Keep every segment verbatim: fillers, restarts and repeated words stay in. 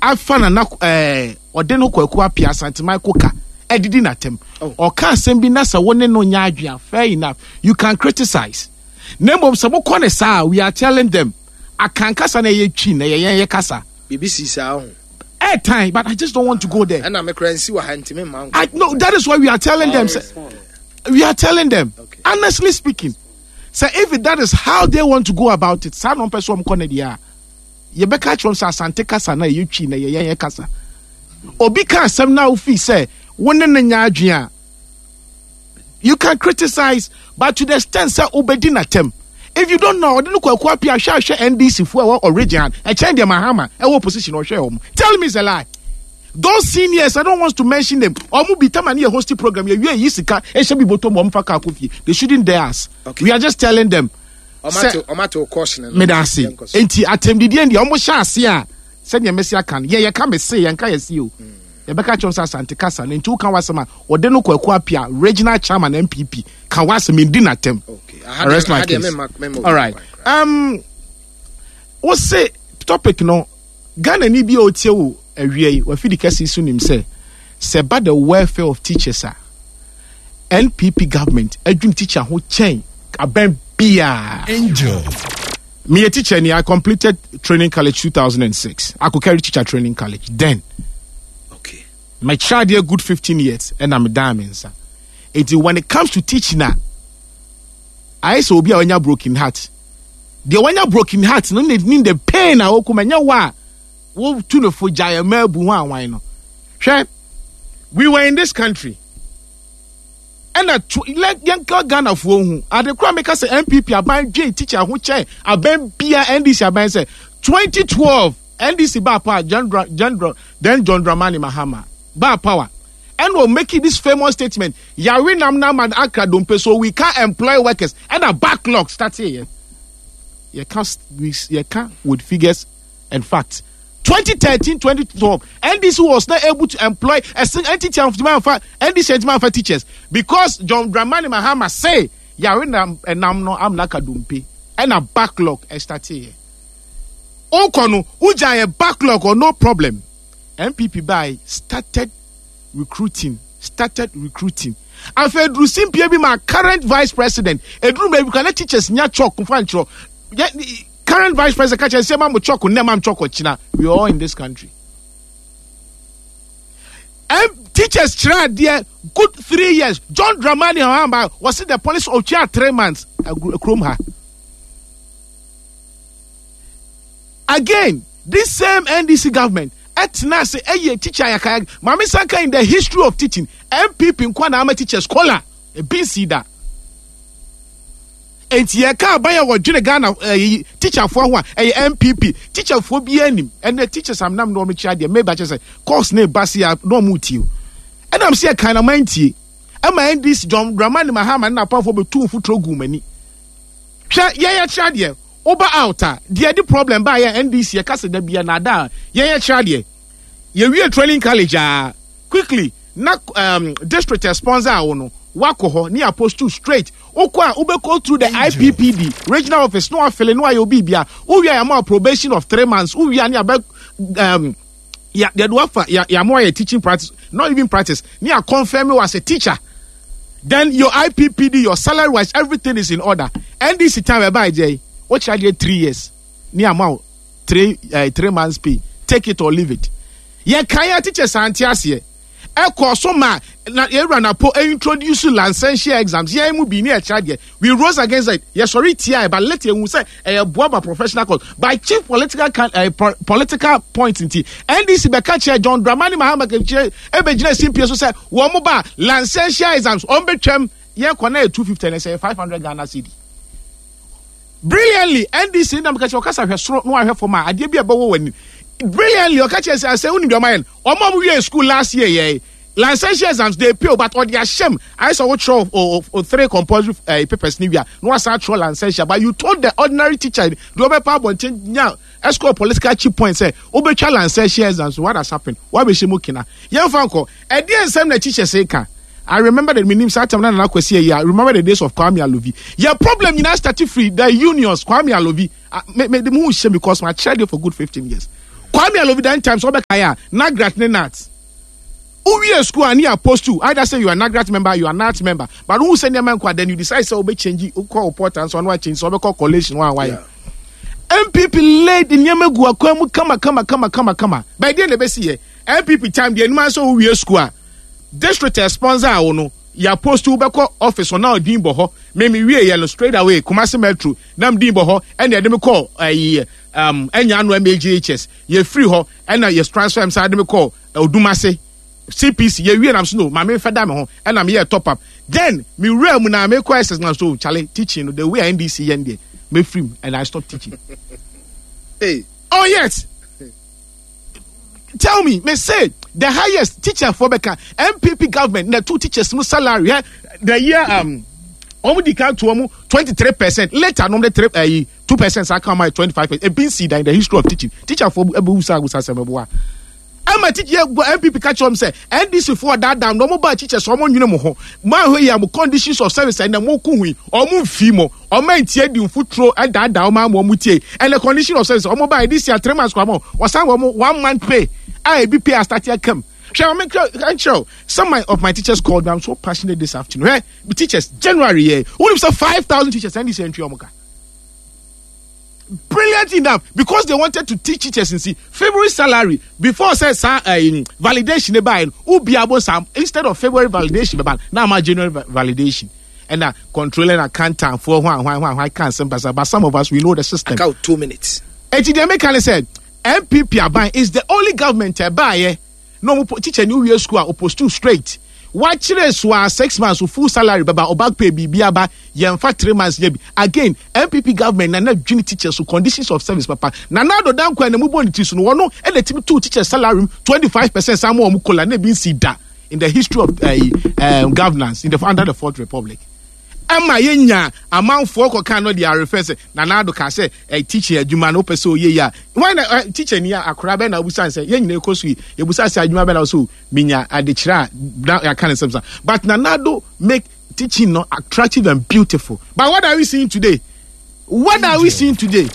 Afa Nana ɛɛ ɔde no Kwaku Apia Asanteman koka ɛdidi n'atɛm. Oh. Ɔka asɛm bi na sɛ wo ne no nya adwene, fair enough, you can criticize. Na mmom sɛ mokɔ ne saa, we are telling them akankasa na ɛyɛ Twi na ɛyɛ yɛn yɛ kasa. Biribi si saa ho. Airtime, but I just don't want to go there. Ɛna mekora nsi wɔ ha ntimi mma nkɔ. I no, that is why we are telling them. Say, we are telling them, Okay. honestly speaking, say if that is how they want to go about it, saa na ɔmpɛ sɛ ɔmkɔ no deɛ a, yɛbɛka kyerɛ wɔn sɛ Asante kasa na ɛyɛ Twi na ɛyɛ yɛn yɛ kasa. Obi ka asɛm na wofi sɛ wo ne no nya adwene a, you can criticize, but to the extent sɛ wobɛdi n'atɛm. If you don't know, ɔde no Kwaku Apia ahwɛ ahwɛ N D C fo a ɛwɔ origin ɛkyɛn deɛ Mahama ɛwɔ opposition ɔhwɛ wɔn. Tell me it's a lie. Those seniors, I don't want to mention them. Ɔmo bi tama ne yɛ hosting program yɛ wie yi sika ɛhyɛ bi bɔtɔ mu ɔmo fa kaa kɔ fie. They shouldn't dare us. Okay. We are just telling them. Ɔmato ɔmato caution no. Meda ase. Yɛnkɔ so. Nti atɛmdidie deɛ ɔmo hyɛ ase a, sɛdeɛ mɛsi aka no, yɛ yɛka me se yɛnka yɛ si o. Yɛbɛka kyerɛ sɛ Asante kasa no nti woka w'asɛm a, ɔde no Kwaku Apia, regional chairman N P P, ka w'asɛm ndi n'atɛm. Okay. I rest my case. All right. Um, wo se topic no, Ghana ni bi a otie wo awia yi wafidi kɛse so nim sɛ sɛ ba the welfare of teachers a, N P P government adwum teacher ho kyɛn abɛn biaa. Angel. Meyɛ teacher ni. I completed training college two thousand six, Akokari Teacher Training College. Then Okay. mekyerɛ adeɛ good fifteen years ɛna medaa me nsa. Enti when it comes to teaching a, ayɛ sɛ obi a wanya broken heart. Deɛ wanya broken heart no ne ne the pain a wɔkɔ ɛnyɛ wɔ a wotu no fo gyae ɛma abu ho awan no. Hwɛ, we were in this country ɛna to let yɛnka Ghanafoɔ hu ade kora meka sɛ N P P aban dwen teacher ho kyɛn aban bia N D C aban sɛ twenty twelve N D C baa power, John, Dra- John, Dra- then John Dramani Mahama baa power ɛna o making this famous statement, "Yare nam nam and akra dompe, so we can't employ workers," ɛna backlog start here. Yɛka we yɛka with figures and facts. twenty thirteen, twenty twelve, N D C was not able to employ a single entity of N D C entity teachers because John Dramani Mahama say yare nam nam no amna ka dompe, ɛna backlog start here. Okɔ no wogya yɛ backlog or no problem. N P P by started recruiting started recruiting Afei eduru simpie bi ma current vice president eduru baabi kan na teachers nya chalk nfa nkyerɛ. Yɛ current vice president ka kyerɛ sɛ ma mo chalk nnɛ, ma mo chalk ɔkyina. We are all in this country. M teachers kyerɛ adeɛ good three years. John Dramani Mahama wɔsi the policy ɔtwa three months kurom ha. Again, this same N D C government ɛtena ase ɛyɛ teacher ayakaya. Maame sanka, in the history of teaching, N P P nkwa na ama teachers kola ebi nsi da. Nti yɛka aban a wɔdwene Ghana ɛyi teacherfoɔ ho a, ɛyɛ N P P. Teacherfoɔ bi anim ɛnɛ teachers am nam na wɔn kyerɛ adeɛ maybe akyɛ sɛ course ne ba se a na wɔn tie o. Ɛnam sɛ yɛkan na man tie ɛma N D C John Dramani Mahama ne n'apamfoɔ bɛtu mfuturo gu wɔn ani. Hwɛ, yɛyɛ kyerɛ adeɛ, woba out a, deɛ de problem ba yɛ N D C yɛka sɛ da bia na ada a yɛyɛ kyerɛ adeɛ, yɛwie training college a, quickly na um, district sponsor a wo no wakɔ hɔ ne apost straight. Wokɔ a, wobɛkɔ through the I P P D regional office na wafele na wayɛ obi bia wowie a, yɛama probation of three months. Wowie a, ne abɛ um, yɛde wafa yɛama wayɛ teaching practice, not even practice, ne yɛ confirm you as a teacher. Then your I P P D, your salary wise, everything is in order. N D C time ɛba ɛgye yi, wokyerɛ adeɛ three years ne ama wo three uh, three months pay, take it or leave it. Yɛ kan yɛ teachers ante aseɛ ɛkɔ so ma na yɛwura Napo introduce licentiate exams. Yɛn mu bi ne ɛkyerɛ adeɛ, we rose against it. Yɛsɔre tia ɛ, but later ehu sɛ ɛyɛ boa ba professional course by chief political can uh, po political point. Nti N D C bɛka kyerɛ John Dramani Mahama kyerɛ ɛbɛgyina simpie so sɛ wɔn mo ba licentiate exams wɔn bɛ twɛm. Yɛn kɔ na yɛ two fifty na ɛsɛ five hundred Ghana cedi. Brilliantly, N D C nam ka kyerɛ ɔkasa hwɛ soro na wahwɛ fam a adeɛ bi a ɛbɛwɔ wɔ anim. Brilliantly, ɔka kyerɛ sɛ asɛ wonim deɛ ɔmayɛ no, ɔmo a ɔmo wie school last year yɛ licentiate exams they pay, but ɔde ahyɛm ayɛ sɛ ɔwotwerɛ o o three compulsory uh, papers ni wia na wasan atwerɛ licentiate. But you told the ordinary teacher deɛ ɔbɛpa abɔnten nya escort political cheap point sɛ wobɛtwa licentiate exams. What has happened? Wabɛhyɛ mu kena yɛmfa nkɔ ɛdeɛ nsɛm na teachers ka. I remember the minim saa time na Nana Kwesi ayi. I remember the days of Kwame Alovi. Your problem nyinaa start free the unions. Kwame Alovi, me me de mu hyɛ because my child for good fifteen years. Kwame Alovi dan times ɔbɛka yɛ a NAGRAT ne GNAT wowie school a ne yɛ post to either say you are NAGRAT member, you are GNAT member, but wohu sɛ nneɛma nkɔ a, then you decide sɛ wobɛ change, wokɔ wo portal nso ɔno change sɛ wobɛkɔ collation wɔn a wayɛ. N P P laid nneɛma gu akwan mu kama kama kama kama kama. Bɛɛ deɛ na ebesi yɛ N P P time deɛ anim asɛ wowie school a, district sponsor a wo no yɛ post, wobɛkɔ office ɔna ɔdin bɔ hɔ. Mimi wie yɛ no, straight away Kumasi Metro nam din bɔ hɔ, ɛna yɛde me kɔ ɛyi um, ɛnya ano M A G H S. Yɛfiri hɔ ɛna yɛ transfer m saa de me kɔ Odumase C P C. Yɛwie nam so no maame nfɛ da me ho, ɛna meyɛ top up. Then me wura mu na me kɔ S S na so chale, teaching no, the way N D C yɛn deɛ, me free mu and I stop teaching. Hey. Oh yes, tell me, me say the highest teacher for bɛka N P P government na two teachers mu salary, eh, the year um wɔn di kan to wɔn twenty three percent, later nom de three ɛyi two percent saa kan ma twenty five percent. Ebi nsi da in the history of teaching. Teacher for ebi wusa wusa sɛ ɛbɛboa ɛma teacher yɛ gbɔ. N P P ka kyerɛ wɔn sɛ N D C foɔ daadaa na wɔn ba teachers, wɔn nwene mo ho mo ahɔ yi a mo conditions of service ɛna mo ko hui wɔn nfi mo wɔn ntie di nfuturo ɛdaadaa wɔn ama wɔn tie. Ɛna condition of service wɔn ba this year, three months kɔ ama wɔsan wɔn one month pay a ebi pay astart akam. Hwɛ, wɔn nkyerɛ, some of my teachers called me. I'm so passionate this afternoon. Hwɛ, teachers, January yɛ wɔn sɛ five thousand teachers, N D C entry wɔn ka brilliant enough because they wanted to teach teachers in see February salary before say sa uh, validation ba ubi abo sam. Instead of February validation ba now my January validation and uh, controlling accountant for one one one one can't but some of us, we know the system. Aka two minutes. Eti deɛ meka ne sɛ N P P aban is the only government ɛbaayɛ na ɔmo teacher ni wie school a opostu straight, wakyerɛ so a six months full salary bɛba, ɔback pay biribi aba, yɛnfa three months yɛ bi. Again, N P P government nana dwene teachers so conditions of service papa. Nana Addo Dankwa na mu bɔ ne ti so no, wɔn ɛna timi two teachers salary twenty five percent saa mo wɔn kola na ebi nsi da in the history of uh, uh, governance in the under the Fourth Republic. Ɛma yɛnya amanfoɔ kɔka no de arefɛ sɛ Nana Addo ka sɛ ɛ teaching adwuma no wopɛ sɛ oyɛ yi a wɔn na ɛ teacher ni akora bɛn na obusa sɛ yɛn nyinaa kɔ so yi, yɛbusa sɛ adwuma bɛn na so minya adekyerɛ a na yɛaka ne nsɛm sa. But Nana Addo make teaching no attractive and beautiful. But what are we seeing today? What are we seeing today?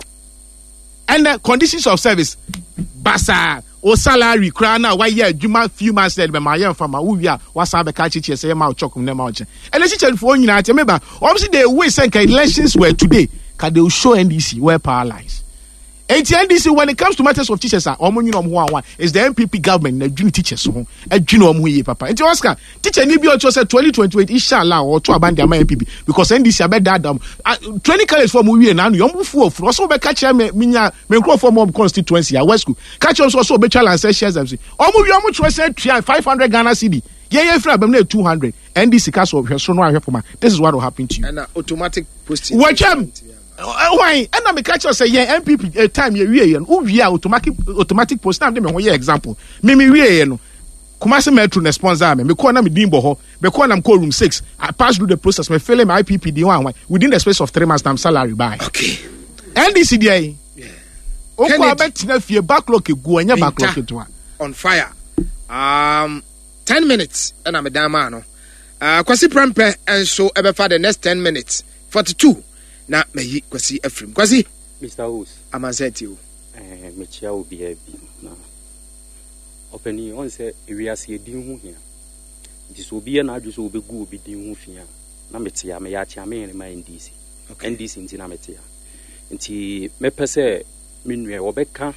And the conditions of service basaa. O salary koraa na wayɛ adwuma few months na ɛde bɛma yɛ nfa ma wowie a, wasan bɛka akyekyere sɛ yɛ ma wo chɔk ne ma wo kyɛ. Ɛnɛ kyekyɛfoɔ nyinaa kyɛ meba wɔn si they wish sɛ nka elections were today ka they will show N D C where power lies. Eti N D C, when it comes to matters of teachers a, wɔn nyina wɔn ho awa is the N P P government na adwini teachers ho, adwini wɔn ho yie papa. Nti Oscar, teacher ni bi ɔkyerɛ sɛ twenty twenty eight, inshallah, ɔto aban de ama N P P because N D C abɛdaadaa mu. Training college fo mo wie na ano yɛn mo fu ofuru ɔsɛ ɔbɛka kyerɛ me minya me nkurɔfoɔ mo constituency a West School ka kyerɛ nso ɔsɛ ɔbɛtwa lancet exam si ɔmo wie, ɔmo kyerɛ sɛ tua five hundred Ghana cedi, yɛn yɛn firi abɛm na yɛ two hundred. N D C ka so hwɛ soro no ahwɛ fama. This is what will happen to you. Ɛna automatic posting. Wɔtwam hwan ɛna meka kyerɛ sɛ yɛn N P P eh, time yɛ wie yɛ no, wowie a, automatic automatic post na de me ho yɛ example. Me me wie yɛ no, Kumasi Metro na sponsor me. Mekɔɔ na me din bɔ hɔ, mekɔɔ na mekɔɔ room six. I passed through the process, me fill my I P P din hwan hwan, within the space of three months na salary bye. Okay N D C deɛ yi okɔ abɛtena fie, backlog egu, ɛnyɛ backlog ketewa. On fire. um, ten minutes ɛna medan maa no. uh, Kwasi Prɛmpɛ nso ɛbɛfa the next ten minutes forty two na mayi Kwasi afirim. Kwasi. Mister Host. Amansa ti o. Eh, mekyia obiara bi na ɔpanin ɔn sɛ ewiase edin ho hia, nti sɛ obi yɛ n'adwe sɛ obɛgu obi din ho fi a, na mete a meyɛ akyea me yɛn ma N D C. Okay. N D C nti na mete a, nti mɛpɛ sɛ me nua wɔbɛka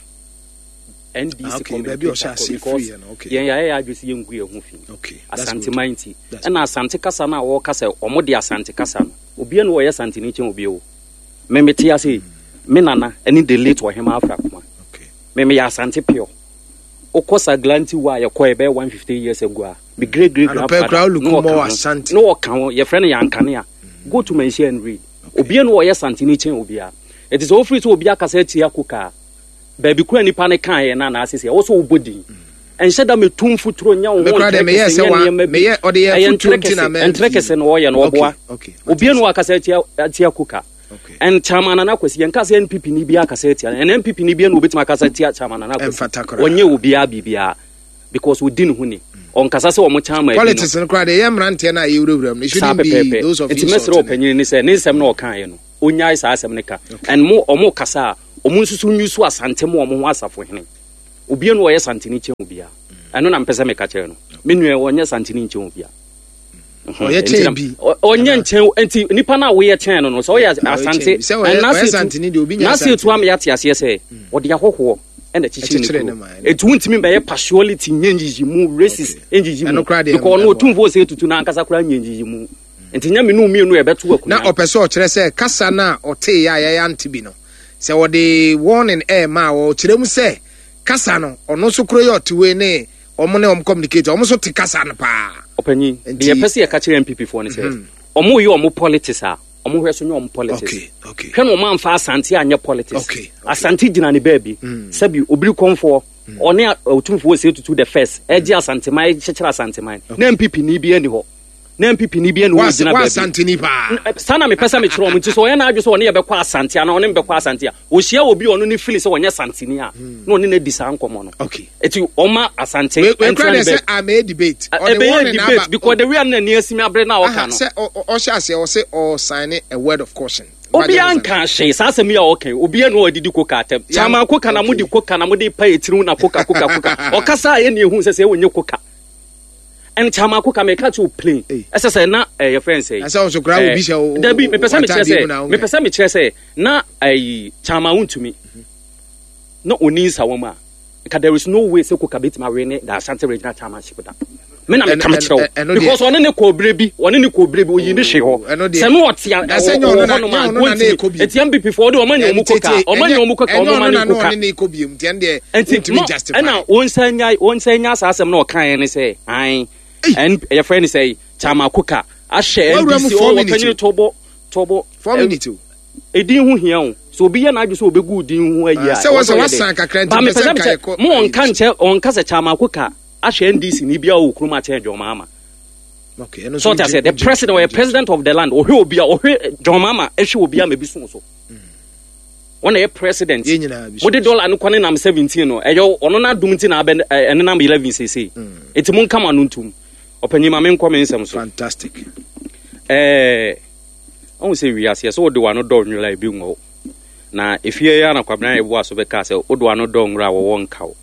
N D C Ah, okay, baabi a ɔhyɛ aseɛ because firi yɛ no, okay. Yɛn yɛayɛ yɛ adwe sɛ yɛngu yɛn ho fi. Okay, that's Asanteman nti ɛna Asante kasa no a wɔka sɛ ɔmo de Asante kasa no, obia ne wɔyɛ Asanteni kyɛn obi o. Me mete ase yi, me nana ɛne the late Ɔhema Afrakoma. Okay. Me meyɛ Asante pure. Wokɔ Saglanti wa a yɛkɔ ɛbɛyɛ one fifty years ago a, me great great Anɔpa grandfather koraa woluku na ɔka mɔ ho. Asante. Na ɔka ho, yɛfrɛ no Yankanea. Go to Manhyia and read. Obia ne wɔyɛ Santeni kyɛn obiara. Ɛti sɛ wofiri sɛ obi akasa atia kokaa baabi kura nipa ne kaeɛ no anaasɛ sɛ ɛwɔ sɛ wobɔ din, ɛnhyɛ da metu mfuturo nyɛ wo ho Me koraa deɛ meyɛɛ ntrɛ kɛse sɛ nyɛ wa- nneɛma bi. meyɛ- ɔde yɛ Ɛyɛ afotuo ntrɛ nti na kɛse mɛ- ntrɛ kɛse na ɔyɛ no ɔboa. Okay, okay. Obia ne wakasa atia atia koka. Okay. And Chairman Nana Kwasi, yɛnka sɛ N P P ni bi akasa atia no, ɛna N P P ni bi na obɛtumi akasa atia Chairman Nana Kwasi. Ɛmfata koraa. Ɔnyɛ obiara biribiara because ɔdi ne ho ni, ɔnkasa sɛ ɔmo chairman bi no. Politics no koraa deɛ, ɛyɛ mmeranteɛ no a yɛwurawura mu no. It Saa shouldn't be pɛpɛɛpɛ. those of Nti mɛsrɛ insult. ɔpanyin ne sɛ ne nsɛm na ɔkaeɛ no, ɔnyae saa asɛm no ka, and mo ɔmo kasa a, ɔmo nso so nyi so Asante mu ɔmo ho asafohene. Obiara no ɔyɛ Santini kyɛn obiara. Ɛno na mpɛ sɛ meka kyerɛ no. Me nua, ɔnyɛ Santini nkyɛn obiara. Ɔyɛ kyɛn bi. Ɔnyɛ nkyɛn. Nti nipa no a woyɛ kyɛn no no sɛ ɔyɛ Asante n'ase etu ama yɛate aseɛ sɛ ɔde ahɔhoɔ ɛna kyikyiri ne kuro, etu ntumi bɛyɛ partiality, nye nyiyi mu, racist nyiyi mu, because ɔno Otumfoɔ sɛ etutu n'ankasa koraa nye nyiyi mu, nti nyɛ menu mmienu yɛbɛto akonnwa. Na ɔpɛ sɛ ɔkyerɛ sɛ kasa no a ɔtee yɛ a yɛyɛ ante bi no, sɛ ɔde warning ɛɛma a, ɔkyerɛ mu sɛ kasa no, ɔno nso kuro yɛ ɔte wei ne ɔmo ne ɔmo communicate, ɔmo nso te kasa no paa. Ɔpanyin, deɛ yɛpɛ sɛ yɛka kyerɛ N P P foɔ no sɛ ɔmo yɛ ɔmo politics a, ɔmo hwɛ so nyɛ ɔmo politics. Hwɛ na ɔmo amfa Asante anyɛ politics. Asante gyina ne baabi. Sɛbi, obiri kɔnfoɔ ɔne Otumfoɔ sɛ Tutu the First ɛgye Asanteman, ɛkyekyere Asanteman na N P P ni bi ani hɔ, na N P P ni bi ani hɔ gyina baabi. Asanteni paa. Saa na mepɛ sɛ mekyerɛ ɔmo. Nti sɛ ɔyɛ n'adwe sɛ ɔne yɛbɛkɔ Asante anaa ɔne mbɛkɔ Asante a, ɔhyia obi a ɔno ne fili sɛ ɔnyɛ Santeni a, na ɔne no adi saa nkɔmmɔ no. Eti ɔma Asante ɛntena ne baabi. Sɛ debate. Ɛbɛyɛ debate because the way a n'ani asi mi abere na ɔka no. Sɛ ɔhyɛ aseɛ, ɔsɛ ɔsign a word of caution. Obiara nka hwee saa asɛm yi a ɔka yi, obiara na ɔdidi koka atɛm. Kyama koka na mode koka na mode pa etiriw na koka koka koka ɔkasa a, yɛne ehu sɛ sɛ ɛwɔ nye koka ɛn kyama koka. Meka kyerɛ o plain, ɛsɛ sɛ na ɛyɛ fɛn sɛ. Ɛsɛ ɔso kura obi hyɛ o. Dabi, mepɛ sɛ mekyerɛ sɛ mepɛ sɛ mekyerɛ sɛ na ɛyi Kyama Wontumi na oni nsa wɔm a, nka there is no way sɛ koka bɛtumi awe ne the Ashanti Regional Chairmanship da. Me na meka mekyerɛ wo because ɔne ne kɔ obere bi, ɔne ne kɔ obere bi, oyi ne hwe hɔ sɛ no ɔte wɔ hɔnom a, wɔntumi. Eti N P P fo ɔde ɔma nya ɔmo koka, ɔma nya ɔmo koka, ɔmo ma ne koka. Nti mo ɛna wɔn nsa nya, wɔn nsa nya saa asɛm na ɔka yɛn ne sɛ ayi ɛn yɛfrɛ ne sɛ Chairman koka ahyɛ N D C ɔwɔ panyin tɔbɔ tɔbɔ. Four minutes o. Edin ho hia o. So obi yɛ n'adwe sɛ obegu din ho ayi a, sɛ wɔn sɛ wasan kakra nti pɛ sɛ nka yɛ mo ɔnka nkyɛ, ɔnka sɛ Chairman koka ahyɛ N D C ni bia wɔ kurom akyɛn John Mahama. So ɔte aseɛ, the president, ɔyɛ president of the land, ɔhwɛ obi a ɔhwɛ John Mahama, ɛhwɛ obi a ma ebi so so wɔn na yɛ president. Mo de dollar no kɔ ne nam seventeen no, ɛyɛ ɔno n'adum nti na abɛ ɛne nam eleven seesei. Eti mo nkama no ntum. Ɔpanyin, ma me nkɔ me nsɛm so. Fantastic. Ɛɛ ɔhun sɛ wiase sɛ wode w'ano dɔ nwura, ebi nwɔ na efie yi ana Kwabena yɛ bu aso bɛka sɛ wode w'ano dɔ nwura a, wɔwɔ nkaw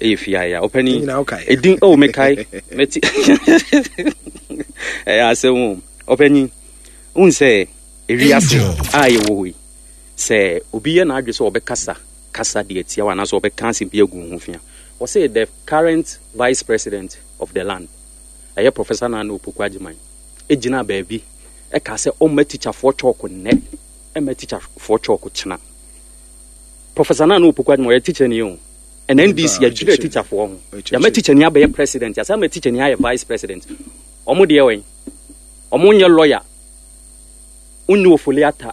ɛyɛ fie ayɛ a ɔpanyin edin oh mekae mɛti ɛyɛ asɛm o. Ɔpanyin, ohun sɛ ewiase a yɛwɔ hɔ yi, sɛ obi yɛ n'adwe sɛ ɔbɛkasa kasa deɛ tia wa anaasɛ ɔbɛka asɛm bi agu ho fia, wɔsɛ the current vice president of the land, ɛyɛ Professor Nana Opoku Agyeman, egyina baabi ɛka sɛ ɔmma tikyafoɔ chalk nnɛ, ɛmma tikyafoɔ chalk kyena. Professor Nana Opoku Agyeman ɔyɛ teacher ni o, ɛna N D C yɛdwerɛ tikyafoɔ ho, yɛma teacher ni abɛyɛ president, yɛsɛ ama teacher ni ayɛ vice president. Ɔmo deɛ wɔn ɔmo nyɛ lawyer, wonni Ofoli Ata,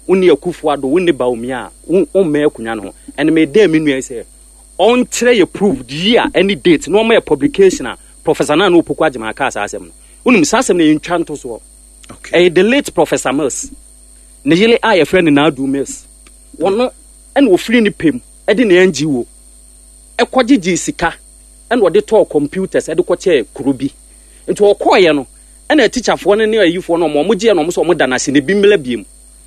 wonni Akufo Ado, wonni Bawumia a wommɛ akonnwa no ho. Ɛna mɛdɛ me nua yi sɛ ɔnkyerɛ yɛ proof year ɛne date na ɔma yɛ publication a Professor Nana Opoku Agyeman aka saa asɛm no. Wonim saa asɛm no yɛntwa nto soɔ. Ɛyɛ the late Professor Mills ne yere a yɛfrɛ no Naadu Mills, wɔno ɛna ofiri ne pɛm ɛde ne N G O ɛkɔgyegye sika ɛna ɔde tɔɔ computers ɛde kɔkyɛɛ kuro bi. Nti ɔkɔɔyɛ no, ɛna tikyafoɔ no ne ayifoɔ no, ɔmo ɔmo gyeɛ no, ɔmo sɛ ɔmo da n'ase na ebi mmla biem,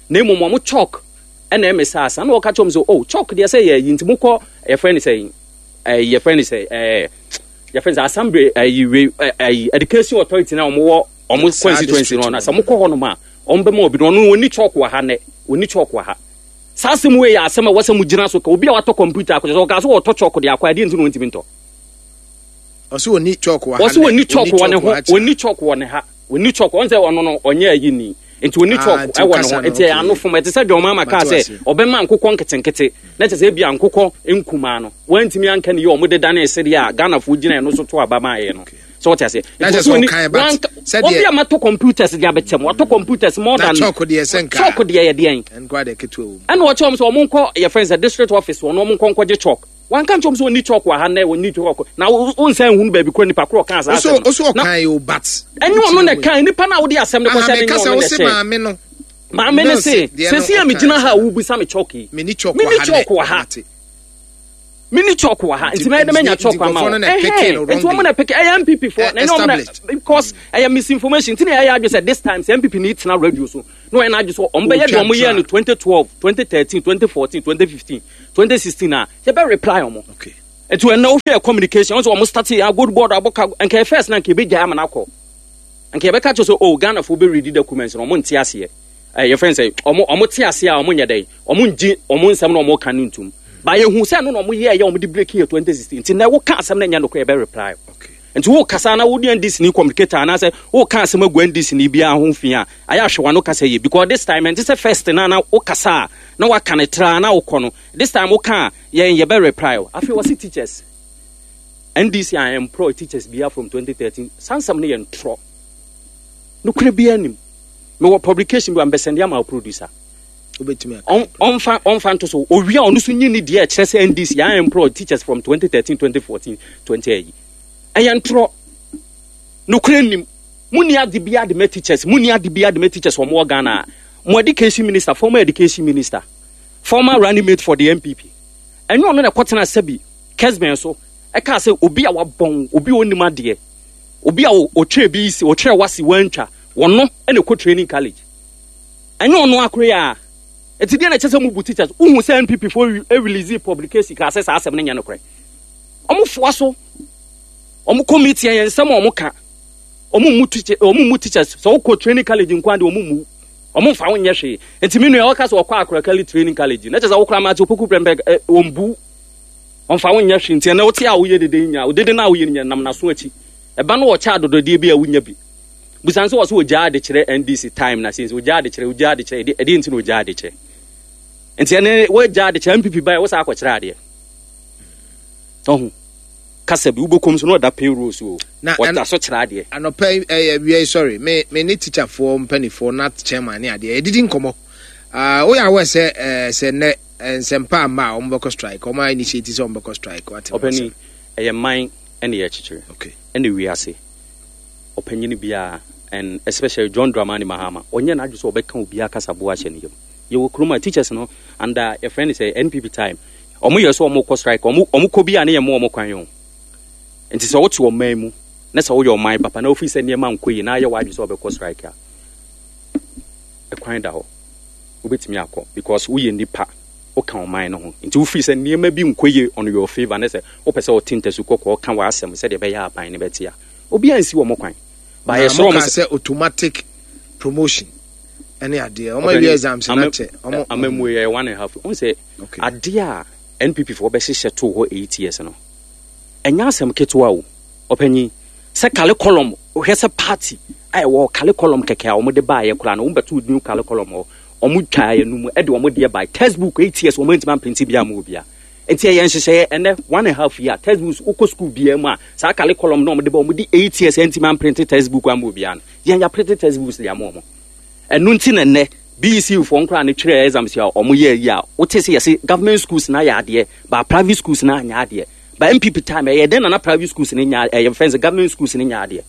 na mmom ɔmo chalk ɛna ɛmɛ saa asa na ɔka kyerɛ ɔmo sɛ, oh, chalk deɛ sɛ yɛ yi, nti mo kɔ yɛfrɛ ne sɛ ɛɛ yɛfrɛ ne sɛ ɛɛ yɛfrɛ ne sɛ assembly ɛyi wei ɛyi education authority na ɔmo wɔ ɔmo constituency no na sɛ mo kɔ hɔ nom a, ɔmo bɛma obi no. Ɔno oni chalk wɔ ha nɛ, oni chalk wɔ ha. Saa asɛm wei yɛ asɛm a ɛwɔ sɛ mo gyina so ka. Obi a watɔ computer akɔkyɛ sɛ ɔka so wɔtɔ chalk de akɔ adeɛ, nti na ɔntumi ntɔ. Ɔsɛ oni chalk wɔ ha. Ɔsɛ oni chalk wɔ ne ho, oni chalk wɔ ne ha, oni chalk. Ɔn sɛ ɔno no ɔnyɛ ayi ni, nti oni chalk ɛwɔ ne ho. Nti ɛyɛ ano fom. Ɛte sɛ John Mahama kaa sɛ ɔbɛma nkokɔ nketenkete na kyerɛ sɛ ebi nkokɔ nkumaa no, wɔntumi anka ne yɛ ɔmo deda ne ɛsɛdeɛ a Ghanafoɔ gyina ɛno so to aba maa yɛ no sɛ wɔte aseɛ. Nti obi a matɔ computers de abɛkyɛm, watɔ computers more than chalk deɛ sɛ nka chalk deɛ yɛ deɛn? Ɛna ɔkyɛ wɔn sɛ ɔmo nkɔ yɛfrɛ sɛ district office wɔn, ɔmo nkɔ nkɔgye chalk. Wanka nkyɛn sɛ ɔni chalk wɔ ha nɛ, ɔni chalk na ɔnsan nhunu baabi kura nipa koro ɔka saa asɛm no. Ɔso ɔkan yi o, but. Ɛnyɛ ɔno na kan nipa na ɔde asɛm no kɔhyɛ ne, nyɛ ɔno na ɛhyɛ. Maame no. Maame no se sɛsi a megyina ha a wobisa me chalk yi, mini chalk wɔ ha. Mini chalk wɔ ha, nti mɛyɛ dɛ mɛnya chalk ama wo. Ɛhɛn, nti wɔn na pick ɛyɛ N P P foɔ na ɛnyɛ wɔn na, because ɛyɛ misinformation. Nti na ɛyɛ adwe sɛ this time sɛ N P P ni tena radio so na wɔyɛ n'adwe so wɔn bɛyɛ deɛ wɔn yɛ no twenty twelve, twenty thirteen, twenty fourteen, twenty fifteen, twenty sixteen a yɛbɛ reply wɔn. Nti wɔn na wohwɛ communication, wɔn sɛ wɔn start yɛ Gold Board abɔka nka yɛ first na nka ebe gya ama n'akɔ, nka yɛbɛka kyerɛ sɛ, oh, Ghana fo bɛ read documents na wɔn nte aseɛ. Ɛɛ yɛfrɛ sɛ ɔmo ɔmo te aseɛ a, ɔmo nyɛ dɛ ɔmo ngye ɔmo nsɛm na ɔmo ka no ntum ba. Yɛhu sɛ no na ɔmo yɛ ɛyɛ ɔmo de break yɛ twenty sixteen. Nti na ɛwɔ ka asɛm na ɛnyɛ nokorɛ, yɛbɛ reply. Nti wo kasa na wodi N D C ni communicator anaasɛ wo ka asɛm agu N D C ni biara ho fi a, ayɛ ahwɛ wano kasa yie, because this time ɛnte sɛ first na na wo kasa a na waka ne tra na wokɔ no. This time wo ka a, yɛn yɛbɛ reply o. Afei wɔsi teachers, N D C a employ teachers bia from twenty thirteen, sansam no yɛ ntorɔ, nokorɛ biara nim. Mewɔ publication bi a mbɛsɛnde ama wo producer. Ɔmfa ɔmfa nto so owia, ɔno so nyi ne deɛ ɛkyerɛ sɛ N D C a employ teachers from twenty thirteen, twenty fourteen, twenty ayi. Ɛyɛ ntorɔ, nokorɛ nim. Munni ade bi ade ma teachers, munni ade bi ade ma teachers. Wɔn wɔ Ghana mo education minister, former education minister, former running mate for the N P P, ɛnyɛ ɔno na ɛkɔtena sɛbi Kessben so ɛka sɛ obi a wabɔn, obi a onim adeɛ, obi a ɔtwerɛ bi si ɔtwerɛ wasi wantwa wɔno ɛna ɛkɔ training college? Ɛnyɛ ɔno akoro yi a ɛti deɛ na ɛkyɛ sɛ mu bu teachers. Wohu sɛ N P P fo release publication kaa sɛ saa asɛm no nyɛ nokorɛ. Ɔmo foa so, ɔmo committee yɛn nsɛm a ɔmo ka, ɔmo mu teacher, ɔmo mu teachers sɛ ɔkɔ training college nko ade, ɔmo mu ɔmo nfa wo nyɛ hwee. Nti mi nua ɔka sɛ ɔkɔ Akrakali training college na kyerɛ sɛ ɔkora Matthew Opoku Prempeh ɛ wɔn bu ɔnfa wo nyɛ hwee. Nti ɛnɛ wote a woyɛ dede nya dede na woyɛ nya nam n'aso akyi ɛba no, wɔkyɛ adɔdɔdeɛ bi a wonya bi busan sɛ wɔ so wɔgyaa ade kyerɛ N D C time na since wɔgyaa ade kyerɛ, wɔgyaa ade kyerɛ, ɛdeɛ nti na wɔgyaa ade kyerɛ. Nti ɛnɛ wɔgyaa ade kyerɛ N P P ba yɛ wɔsa akɔkyerɛ adeɛ ɔho kasa bi wobɛkɔm so na ɔda payroll so o, ɔda so kyerɛ adeɛ. Anɔpɛ ɛyɛ wia yi, sorry, me me ne teacherfoɔ mpanimfoɔ na chairman ne adeɛ yɛdidi nkɔmmɔ. Woyɛ awɔ sɛ ɛɛ sɛ nnɛ nsɛmpa ama a wɔn bɛkɔ strike, wɔn a initiate sɛ wɔn bɛkɔ strike, wate? Ɔpɛni, ɛyɛ man ɛna yɛkyekyere ɛna wiase ɔpanyini biara, and especially John Dramani Mahama, ɔnyɛ n'adwe sɛ ɔbɛka obiara kasaboa ahyɛ ne yam. Yɛwɔ kurom a teachers no under yɛfrɛ no sɛ N P P time, ɔmo yɛ sɛ ɔmo kɔ strike, ɔmo ɔmo kɔ bi a ne yɛ mo ɔmo kwan o. Nti sɛ wote ɔman mu na sɛ woyɛ ɔman papa na wofiri sɛ nneɛma nkɔ yie na ayɛ w'adwe sɛ ɔbɛkɔ strike a, ɛkwan da hɔ, wobɛtumi akɔ, because woyɛ nipa, woka ɔman no ho. Nti wofiri sɛ nneɛma bi nkɔ yie on your favour ne sɛ wopɛ sɛ wote ntasu kɔkɔɔ ka w'asɛm sɛdeɛ ɛbɛyɛ aban ne bɛte a, obiara nsi wɔ mo kwan. Ba yɛsrɛ wɔn sɛ automatic promotion ɛne adeɛ wɔn awie exams na kyɛ wɔn amamu yɛ one and a half wɔn sɛ adeɛ a N P P foɔ bɛhyehyɛ to hɔ eight years no, ɛnyɛ asɛm ketewa o. Ɔpanyin, sɛ curriculum, hwɛ sɛ party a ɛwɔ curriculum kɛkɛ a wɔn de baayɛ koraa no, wɔn bɛto new curriculum hɔ, wɔn twa yɛ no mu ɛde wɔn deɛ baayɛ. Textbook, eight years wɔn ntoma mprinti bi ama obiara. Nti ɛyɛ nhyehyɛeɛ. Ɛnɛ one and a half year, textbooks, wokɔ school biara mu a, saa curriculum na wɔn de ba, wɔn de eight years ntoma mprint textbook ama obiara no, yɛn yɛ print textbooks de ama wɔn. Ɛno nti na nnɛ B E C foɔ nkora ne twerɛ exams a wɔn yɛ yi a, wote sɛ yɛsɛ government schools na yɛ adeɛ ba, private schools na anyɛ adeɛ. Ba N P P time, ɛyɛ dɛn na na private schools ne nya ɛyɛ fɛn sɛ government schools ne nya adeɛ?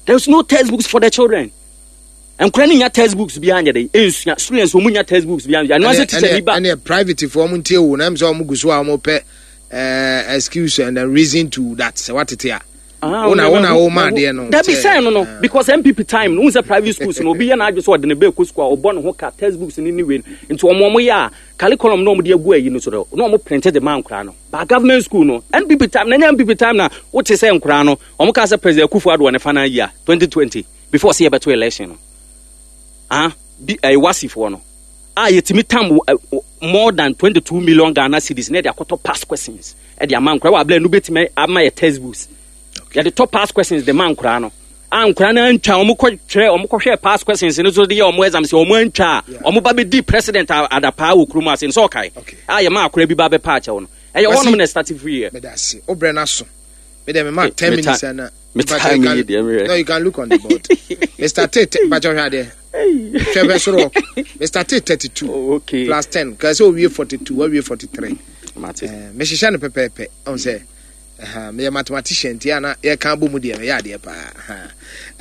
There is no textbooks for the children. Nkora ne nya textbooks bi anyɛ dɛ nsua. Students wɔn nya textbooks bi anyɛ ɛno asɛ teacher ni ba. Ɛnɛ private foɔ ɔmo ntie wo na ɛm sɛ ɔmo gu so a ɔmo pɛ ɛɛ excuse and a reason to that sɛ watete a wona wona wo ma adeɛ no. Dabi, sɛn no no because N P P time no, n sɛ private schools no, obi yɛ n'adwe sɛ ɔde ne bɛɛ kɔ school a, ɔbɔ ne ho ka textbooks ne ne wei no. Nti ɔmo ɔmo yɛ a curriculum na ɔmo de agu ayi no so no na ɔmo print de ma nkora no. Ba government school no, N P P time na nyɛ N P P time na wote sɛ nkora no ɔmo ka sɛ President Akufo Addo wɔ ne final year twenty twenty before sɛ yɛbɛto election no, ah, bi ɛyɛ wasifoɔ no a yɛtumi tam more than twenty two million Ghana cedis na yɛde akɔtɔ past questions ɛde ama nkora wɔ abila no bɛtumi ama yɛ textbooks. Yɛde tɔ past questions de ma nkora no a, nkora no antwa, wɔn kɔ twerɛ, wɔn kɔhwɛ past questions no so de yɛ wɔn exams, wɔn antwa a wɔn ba bɛdi president adapaa wɔ kurom ase nsɛ ɔkae a yɛ ma akora bi ba bɛpa akyɛw no, ɛyɛ wɔnom na start free yɛ. Meda ase, o brɛ n'aso. Me dem ma ten minutes ana. No, you can look on the board. Mister Tate, mpakyɛ hwɛ adeɛ. Hwɛ bɛ soro. Mister Tate thirty-two. Oh, okay. Plus ten. Ka sɛ owie forty-two, wawie forty-three. Mate. Eh, mehyehyɛ no pɛpɛɛpɛ. Ɔn sɛ meyɛ mathematician nti ana yɛka bɔ mu deɛ meyɛ adeɛ paa.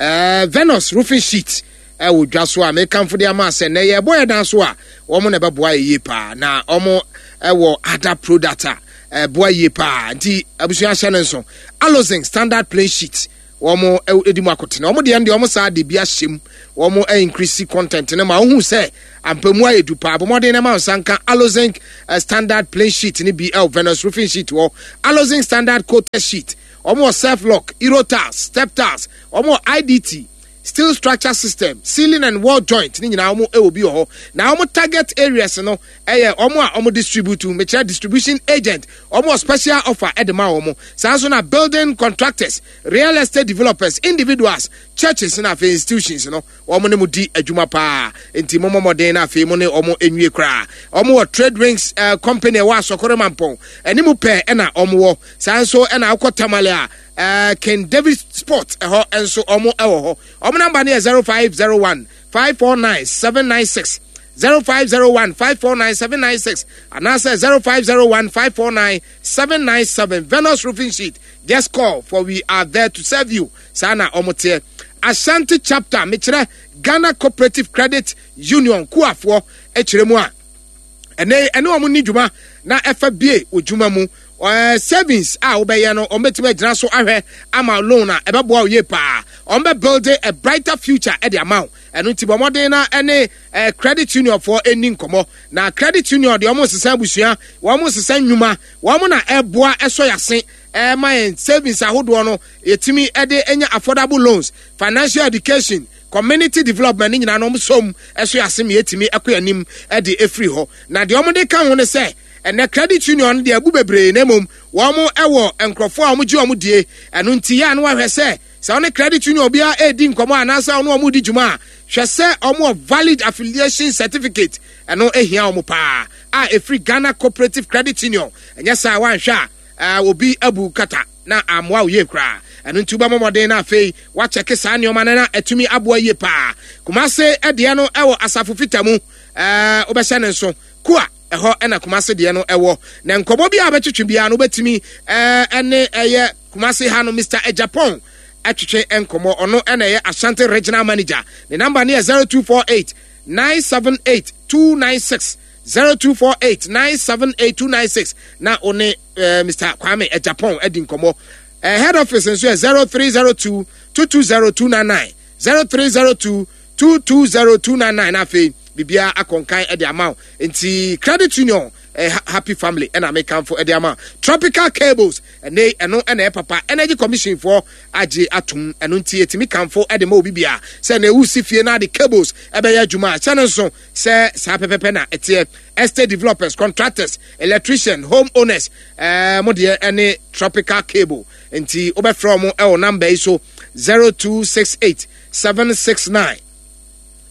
Eh, Venus roofing sheet ɛwɔ dwa so a mekamfo de ama sɛ nɛ yɛbɔ yɛ dan so a, wɔn na ɛbɛboa yɛ yie paa, na wɔn ɛwɔ other product a Ɛboa yie paa. Nti abusua, hyɛ no nso, Alozinc standard plain sheet, wɔn edi mu akotene. Wɔn deɛ deɛ wɔn saa de bi ahyɛ mu, wɔn increase content ne ma ohun sɛ ampamu ayɛ du paa. Abɔmɔden na ma nsa nka Alozinc uh, standard plain sheet ne bi ɛwɔ Venus Roofing Sheet wɔ Alozinc standard coated sheet. Wɔn wɔ self lock, euro tiles, step tiles, wɔn wɔ I D T, steel structure system, ceiling and wall joint ne nyinaa wɔn wɔ bi wɔ hɔ. Na wɔn target areas no ɛyɛ wɔn a wɔn distribute, mekyerɛ distribution agent, wɔn wɔ special offer ɛde ma wɔn. Saa nso na building contractors, real estate developers, individuals, churches na afei institutions no, wɔn ne mo di adwuma paa. Nti mo mmɔden na afei mo ne wɔn nwie koraa. Wɔn wɔ Trade Wings uh, company ɛwɔ Asɔkɔrɔ Mampɔn ɛne mu pɛɛ ɛna wɔn wɔ. Saa nso ɛna akɔ Tamale a, uh, King David Sport ɛhɔ nso wɔn ɛwɔ hɔ. Wɔn number no yɛ zero five zero one five four nine seven nine six, zero five zero one five four nine seven nine six, anaasɛ zero five zero one five four nine seven nine seven. Venus Roofing Sheet, just call, for we are there to serve you. Saa na wɔn teɛ. Ashanti Chapter, mekyerɛ Ghana Cooperative Credit Union kuafoɔ akyerɛ mu a, ɛnɛ ɛne wɔn ni dwuma na ɛfa bie wɔ dwuma mu. Ɛɛ savings a wobɛyɛ no, wɔn bɛtumi agyina so ahwɛ ama loan a ɛbɛboa wo yie paa. Wɔn bɛ build a brighter future ɛde ama wo. Ɛno nti bɔ mmɔden na ɛne ɛɛ credit union foɔ ɛni nkɔmɔ. Na credit union deɛ, wɔn nsesa abusua, wɔn nsesa nnwuma, wɔn na ɛboa ɛsɔ yase ɛɛma yɛn savings ahodoɔ no, yɛtumi ɛde ɛnya affordable loans, financial education, community development ne nyinaa no, wɔn som ɛso yase ma yɛtumi ɛkɔ anim ɛde efiri hɔ. Na deɛ wɔn de ka ho ne sɛ, ɛnɛ credit union deɛ, ɛbu bebree, na mmom wɔn ɛwɔ nkurɔfoɔ a wɔn gye wɔn die. Ɛno nti yɛ ano ahwɛ sɛ sɛ wɔne credit union obiara ɛredi nkɔmɔ anaasɛ wɔn wɔn di dwuma a, hwɛ sɛ wɔn wɔ valid affiliation certificate. Ɛno ehia wɔn paa a efiri Ghana Cooperative Credit Union. Ɛnyɛ saa, wanhwɛ a, ɛɛ obi abu kata na amoa wo yie koraa. Ɛno nti wobɛmɔ mmɔden na afei wakyɛke saa nneɛma no na atumi aboa yie paa. Kumase ɛdeɛ no ɛwɔ Asafo Fita mu. ɛɛ wobɛhyɛ ne nso kua ɛhɔ ɛna Kumase deɛ no ɛwɔ. Na nkɔmɔ bi a bɛtwetwe biara no, wobɛtumi ɛɛ ɛne ɛyɛ Kumase ha no Mister Ejapon ɛtwetwe nkɔmɔ. Ɔno ɛna ɛyɛ Ashanti Regional Manager. Ne number no yɛ zero two four eight nine seven eight two nine six, zero two four eight nine seven eight two nine six, na one ɛɛ Mister Kwame Ejapon ɛdi nkɔmɔ. ɛɛ head office nso yɛ zero three zero two two two zero two nine nine, zero three zero two two two zero two nine nine. Afei biribiara akɔnkan ɛde ama wo. Nti credit union, eh, happy family ɛna mekamfo ɛde ama. Tropical Cables ɛne ɛno ɛna ɛyɛ papa. Energy Commission foɔ agye atom. Ɛno nti etimi kamfo ɛde ma obi bia sɛ na ewu si fie na ade cables ɛbɛyɛ adwuma a, hyɛ no nso sɛ saa pɛpɛpɛ na ɛteɛ. Estate developers, contractors, electrician, home owners, ɛɛ mo deɛ ɛne Tropical Cable. Nti wobɛfrɛ wɔn ɛwɔ number yi so, zero two six eight seven six nine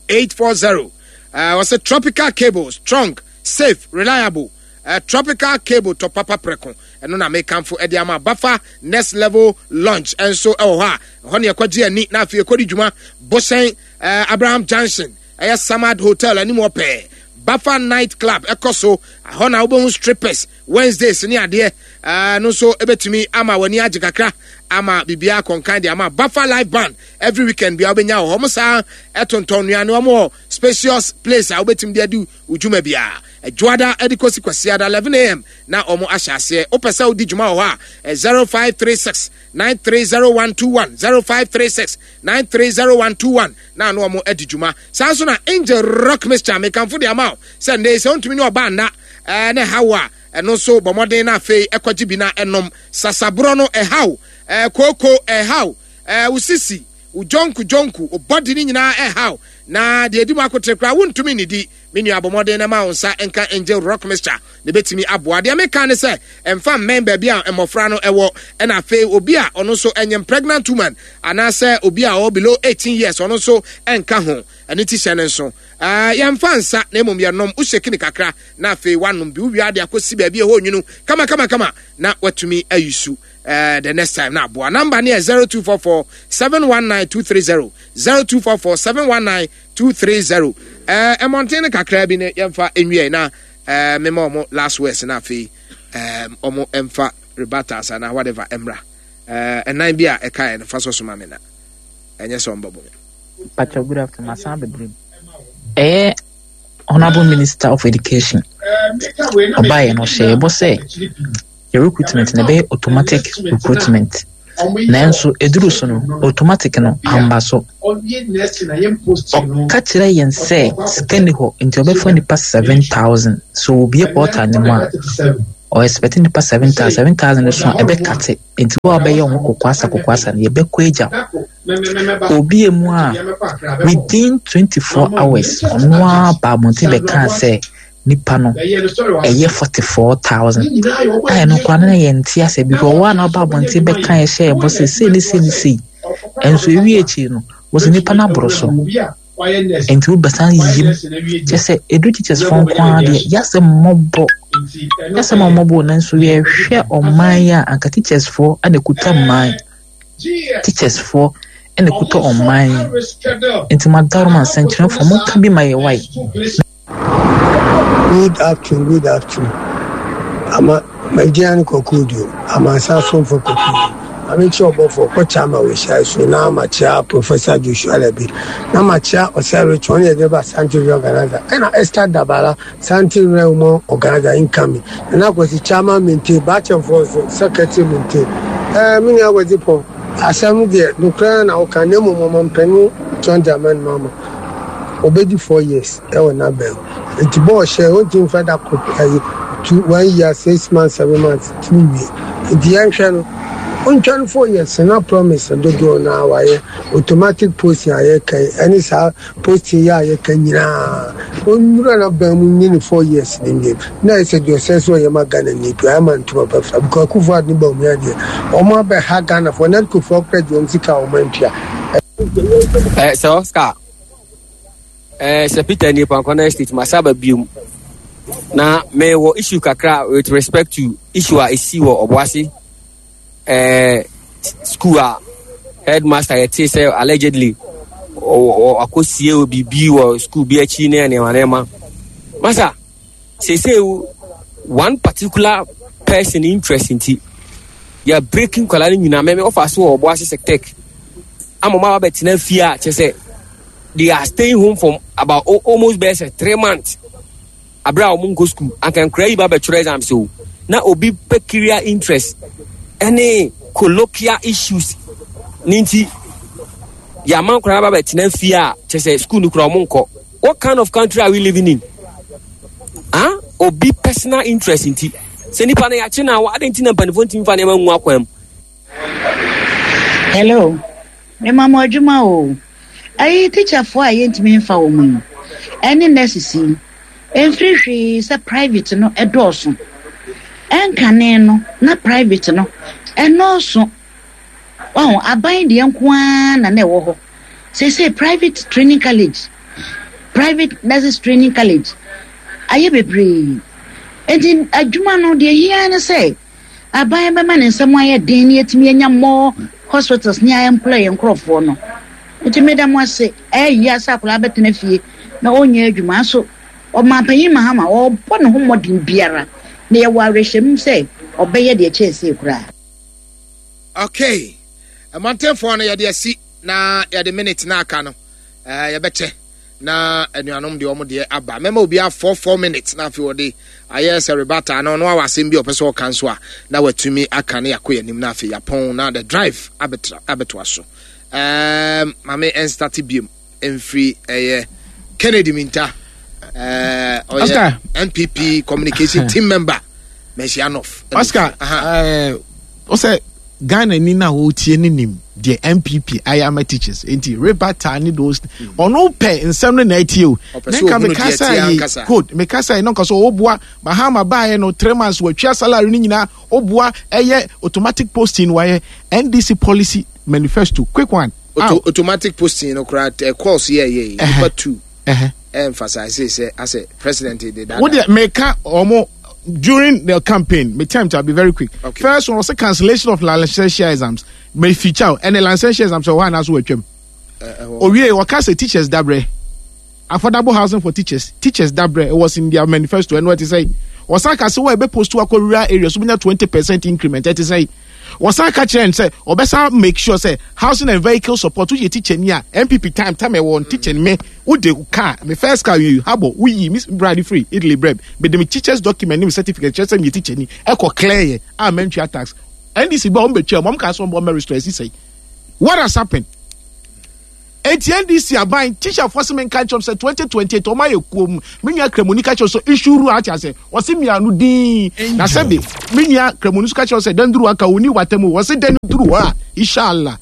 eight four zero. uh, wɔsɛ Tropical Cable, strong, safe, reliable. uh, tropical Cable, tɔ papa prɛko. Ɛno na mekamfo ɛde ama. Bafa Next Level Launch ɛnso ɛwɔ hɔ a, ɛhɔ ne ɛkɔgye ani na afei ɛkɔdi dwuma. Bosɛn, uh, Abraham Junction, ɛyɛ Samad Hotel anim hɔ pɛɛ, Bafa Night Club ɛkɔ so. Ɛhɔ na wobɛhu strippers Wednesdays ne adeɛ. ɛɛ no nso ɛbɛtumi ama w'ani agye kakra ama biribiara kɔnkan de ama. Bafa Live Band every weekend bia wobɛnya wɔ hɔ. Mo saa ɛtontɔn nnuane. Wɔn wɔ spacious place a wobɛtumi de adi dwuma biara. Adwoada ɛde kɔsi Kwasiada eleven a m na wɔn ahyɛ aseɛ. Wopɛ sɛ wodi dwuma wɔ hɔ a, zero five three six nine three zero one two one, zero five three six nine three zero one two one, na ano wɔn adi dwuma. Saa nso na Angel Rock Mixture, mekamfo de ama wo sɛ nnɛ sɛ wontumi ne ɔbaa nna ɛɛ ne ha wo a, ɛno nso bɔ mmɔden na afei ɛkɔgye bi na ɛnom. Sasaborɔ no ɛhaw, ɛɛ kooko ɛhaw, ɛɛ wosisi wo jonku jonku, wo bɔdi ne nyinaa ɛhaw, na deɛ edi mu akotere koraa wontumi nidi, me nua, abɔ mmɔden na ma wo nsa nka Angel Rock Mixture na ebɛtumi aboa. Deɛ meka ne sɛ, ɛmfa mmɛn baabi a mmɔfra no ɛwɔ, ɛna afei obi a ɔno nso ɛnyɛ pregnant woman anaasɛ obi a ɔwɔ below eighteen years, ɔno nso ɛnka ho. Ɛne ti hyɛ ne nso, ɛɛ yɛmfa nsa na mmom yɛnom. Wohyɛ kakra na afei wanom bi, wowia de akɔsi baabi a ɛhɔ nwunu kama kama kama na watumi ayi su uh, the next time na aboa. Number ne yɛ zero two four four seven one nine two three zero, zero two four four seven one nine two three zero. Ɛmmɔnten no kakra bi ne yɛmfa nwie na uh, mema ɔmo last words na afei um, ɔmo ɛmfa rebuttals ana whatever ɛmra. Ɛnan bi a ɛkaeɛ no fa so soma me na ɛnyɛ sɛ ɔmbɛbɔ me. Pacho, good afternoon. Masan bebree. Ɛyɛ Honorable Minister of Education. Ɔbaeɛ no, ɔhyɛ ɛbɔ sɛ Yɛ recruitment no ɛbɛyɛ automatic recruitment. Nanso ɛduru so no, automatic no amba so. Ɔka kyerɛ yɛn sɛ sika nni hɔ nti ɔbɛfa nnipa seven thousand. So obue portal no mu a, ɔ expect nnipa seven thousand. Seven thousand no so a ɛbɛkate. Nti wo a wobɛyɛ wo ho kokoasa kokoasa no, yɛbɛkɔ agya wo. Obue mu a, within twenty four hours, ɔno ara ba abɔnten bɛkaa sɛ nipa no ɛyɛ forty four thousand. A ɛno koraa no na yɛnte asɛ because ɔwɔ a na ɔba abɔnten bɛka ɛhyɛ ɛbɔ sɛ sei ne sei ne sei. Ɛnso ewie akyiri no, wɔsɛ nipa no aboro so. Nti wobɛsan yiyim. Kyɛ sɛ edu teachers fo nko ara deɛ, yɛasɛ mmɔbɔ. Yɛasɛ mmɔbɔ nanso yɛhwɛ ɔman yi a anka teachers foɔ ɛna ekuta mman. Teachers foɔ ɛna ekuta ɔman yi. Nti madaroma nsɛnkyerɛfoɔ monka bi ma yɛ wae. Good afternoon, good afternoon. Ama magyina ne kɔkɔɔduo, amansa asomfo kɔkɔɔduo. Mamekyia ɔbɔfoɔ kɔkyɛ ama wɔhyia so na makyia Professor Joshua Labi na makyia Ɔsɛ Rich ɔne yɛde ba Asante Region Organizer ɛna Esther Dabala Asante Region Women Organizer incoming na akwasi Chairman maintain Baakyɛmfoɔ nso Secretary maintain. Ɛɛ me nua Akwasi Pɔn asɛm deɛ nokorɛ na woka na mmom ɔmampanin John Dramani Mahama obedi four years ɛwɔ n'abɛn nti bɔɔl hyɛ ontumi nfa da koro ɛyi two one year six months seven months tumi wie nti yɛnhwɛ no ontwa no four years na promise dodoɔ na wayɛ automatic posting a yɛka yi ɛne saa posting yi a yɛka nyinaa onnura n'abɛn mu nye ne four years ne nie na ɛsɛ deɛ ɔsɛ sɛ ɔyɛ ma Ghana ni bi ayɛ ma ntoma pɛfɛ because Akufo Addo ne Bawumia deɛ wɔn abɛha Ghana foɔ NEDCO foɔ kora deɛ wɔn sika a wɔn antua. Eh, sɛ Oscar, eh, sɛ Peter ni Pankwana Estate, masaba biom. Na mewɔ issue kakra with respect to issue a esi wɔ Obuasi eh, school a headmaster yɛte sɛ allegedly akɔsie biribi wɔ school bi akyi ne nneɛma nneɛma. Masa, seesei one particular person interest nti yɛ breaking nkwadaa no nyinaa mɛmɛ ɔfa so wɔ Obuasi Sectec ama ɔmo aba bɛtena fie a kyerɛ sɛ they are staying home for about almost bɛyɛ sɛ three months abere a wɔn nkɔ school anka nkwadaa yi ba bɛtwerɛ exams o na obi peculiar interest ɛne colloquial issues ne nti yɛama nkwadaa ba bɛtena fie a kyerɛ sɛ school no kura wɔn nkɔ. What kind of country are we living in? Ah, obi personal interest nti sɛ nipa no yɛakye no a ade nti na mpanimfoɔ ntumi fa nneɛma ngu akwan mu. Hello, mema mo adwuma o. Ayi teacherfoɔ a yɛntumi mfa wɔn mu yi ɛne nurses yi ɛmfiri hwee sɛ private no ɛdɔɔso. Ɛnkane no na private no ɛnɔɔso. Wahu aban deɛ nko ara na na ɛwɔ hɔ. Seesei private training college, private nurses training college ayɛ bebree. Nti adwuma no deɛ hia ne sɛ aban bɛma ne nsɛm ayɛ den na yɛtumi anya more hospitals ne employ nkurɔfoɔ no. Nti meda mo ase ɛyɛ yia sɛ akwadaa bɛtena fie na ɔnyɛ adwuma nso ɔmanpanyin Mahama ɔrebɔ ne ho mmɔden biara na yɛwɔ awerɛhyɛmu sɛ ɔbɛyɛ deɛ kyɛn sei koraa. Okay, mmɔntenfoɔ no yɛde asi na yɛde minute na aka no ɛɛ yɛbɛkyɛ na anuanom deɛ ɔmo deɛ aba mɛma obi four four minutes na afei wɔde ayɛ sɛ rebata no ɔno awɔ asɛm bi a ɔpɛ sɛ ɔka nso a na watumi aka ne yɛakɔ yɛn anim na afei yɛapɔn na the drive abɛtra abɛtoa so ɛɛm maame ɛnstart biem mfiri ɛyɛ Kennedy Minta ɛɛ ɔyɛ Oscar. N P P communication team member, Manhyia North. Oscar, Aha. ɛɛ ɔsɛ Ghana ni na wɔretie ne nim deɛ N P P ayɛ ama teachers nti rebata ne those ɔno pɛ nsɛm no na ɛtie o. Ɔpɛ ne sɛ nka ohunu meka deɛ sɛ ɛteɛ yi ankasa. Code meka sɛ no nka so ɔboa Mahama baayɛ no three months wɔatwa salary no nyinaa ɔboa ɛyɛ automatic posting wayɛ N D C policy manifesto quick one. Auto, Ow. Automatic posting no koraa ɛ calls yɛ yɛ yi nipa two Ɛhɛ. emphasize sɛ asɛ president de dada. Wo deɛ meka ɔmo during the campaign me time to be very quick. Okay. First one was cancellation of licensure exams me feature ɛne licensure exams ɛwɔ hɔ anaasɛ wɔatwam owie wɔka sɛ teachers dabrɛ affordable housing for teachers teachers dabrɛ it was in their manifesto ɛno ɛte sɛ wɔsan ka sɛ wɔ ɛbɛ post akɔ rural areas so bɛnya twenty percent increment ɛte sɛ Wɔsan ka kyerɛ n sɛ ɔbɛsan make sure sɛ housing and vehicle support, woyɛ teacher ni a, N P P time time ɛwɔ teacher ni me wode car, me first car yi habɔ woyi me brade free Italy brɛ mede me teachers document ne me certificate kyerɛ sɛ meyɛ teacher ni, ɛkɔ clear yɛ a mantua tax. N D C bɛ ɔmo bɛtwa mu, ɔmo ka sɛ ɔmo bɔ restore ɛsi sɛyi. What has happened? Eti N D C aban teacher fo sɛ menka nkyɛm sɛ twenty twenty-eight ɔmo ayɛ kuom. Me nua Kramoni ka kyerɛ sɛ isuru ate ase, wɔse mmiano din na sɛbi me nua Kramoni nso ka kyerɛ sɛ danduru aka oni watam, wɔse dan duru hɔ a, inshallah,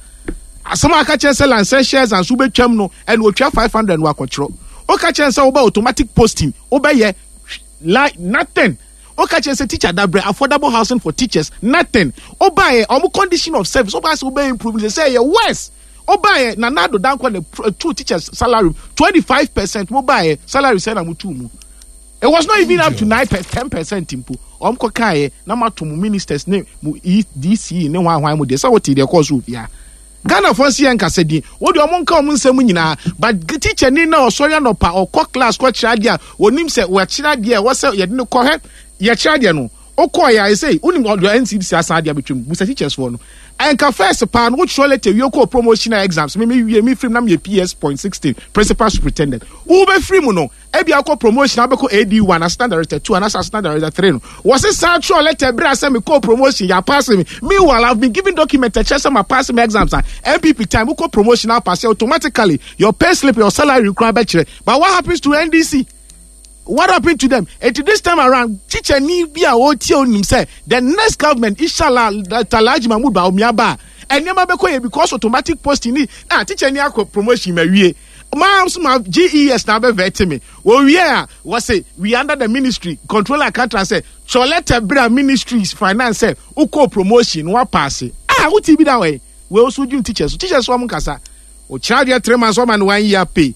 asɛm a aka kyerɛ sɛ lansɛ shares and so wobɛtwam no, ɛna otwa five hundred no akɔkyerɛ. Woka kyerɛ sɛ wobɛ automatic posting, wobɛyɛ like nothing. Woka kyerɛ sɛ teacher dabrɛ, affordable housing for teachers, nothing. Wobaeɛ, ɔmo condition of service, wobaeɛ sɛ wobɛ improve sɛ sɛ ɛyɛ worse. Wobaeɛ, Nana Addo Dankwa na two teachers salary twenty five percent. Mobaeɛ, salary sɛ na mo tu mu, it was not even up to nine per ten percent mpo. Ɔmo kɔ kaeɛ na mo ato mo ministers ne mo D C ne hwan hwan mo deɛ sɛ wote deɛ kɔɔ so ofia. Ghana fo nsi yɛn nkasa din wode ɔmo nka ɔmo nsɛm nyinaa, but teacher ni na ɔsɔre anɔpa ɔkɔ class kɔkyerɛ adeɛ a onim sɛ wɔakyerɛ adeɛ a ɛwɔ sɛ yɛde no kɔ hɛ, yɛkyerɛ adeɛ no wokɔɔ yɛ ayɛ sɛ wonim ɔde N C D C asan adeɛ abɛtwam. Busa teachers foɔ no, ɛnka first paa no, wotwerɛ letter wie kɔɔ promotion exams, me me wie me firim na meyɛ P S point sixteen, principal superintendent. Wobɛfiri mu no, ebi akɔ promotion abɛkɔ A D one, assistant director two anaasɛ assistant director three no, wɔse saa twerɛ letter berɛ a sɛ mekɔɔ promotion, yɛ apass me. Meanwhile, I've been given document ɛkyerɛ sɛ ma pass me exams a N P P time wokɔ promotion apass, automatically your pay slip, your salary kora bɛkyerɛ. But what happens to N D C? What happened to them? Eti this time around, teacher ni bi a ɔretie onim sɛ the next government, inshallah, Alhaji Mahmood Bawumia ba a, nneɛma bɛkɔ yɛ, because automatic posting ni ah teacher ni akɔ promotion ma wie maa nso ma G E S na abɛ vet me, wɔwie a wɔse we under the ministry controller accountant sɛ twɛ letter bere a ministries finance sɛ wokɔ promotion na wapass ah wotie bi da wɔ yi wei nso dwum teachers teachers wɔn nkasa ɔkyerɛ adeɛ three months ɔma no one year pay.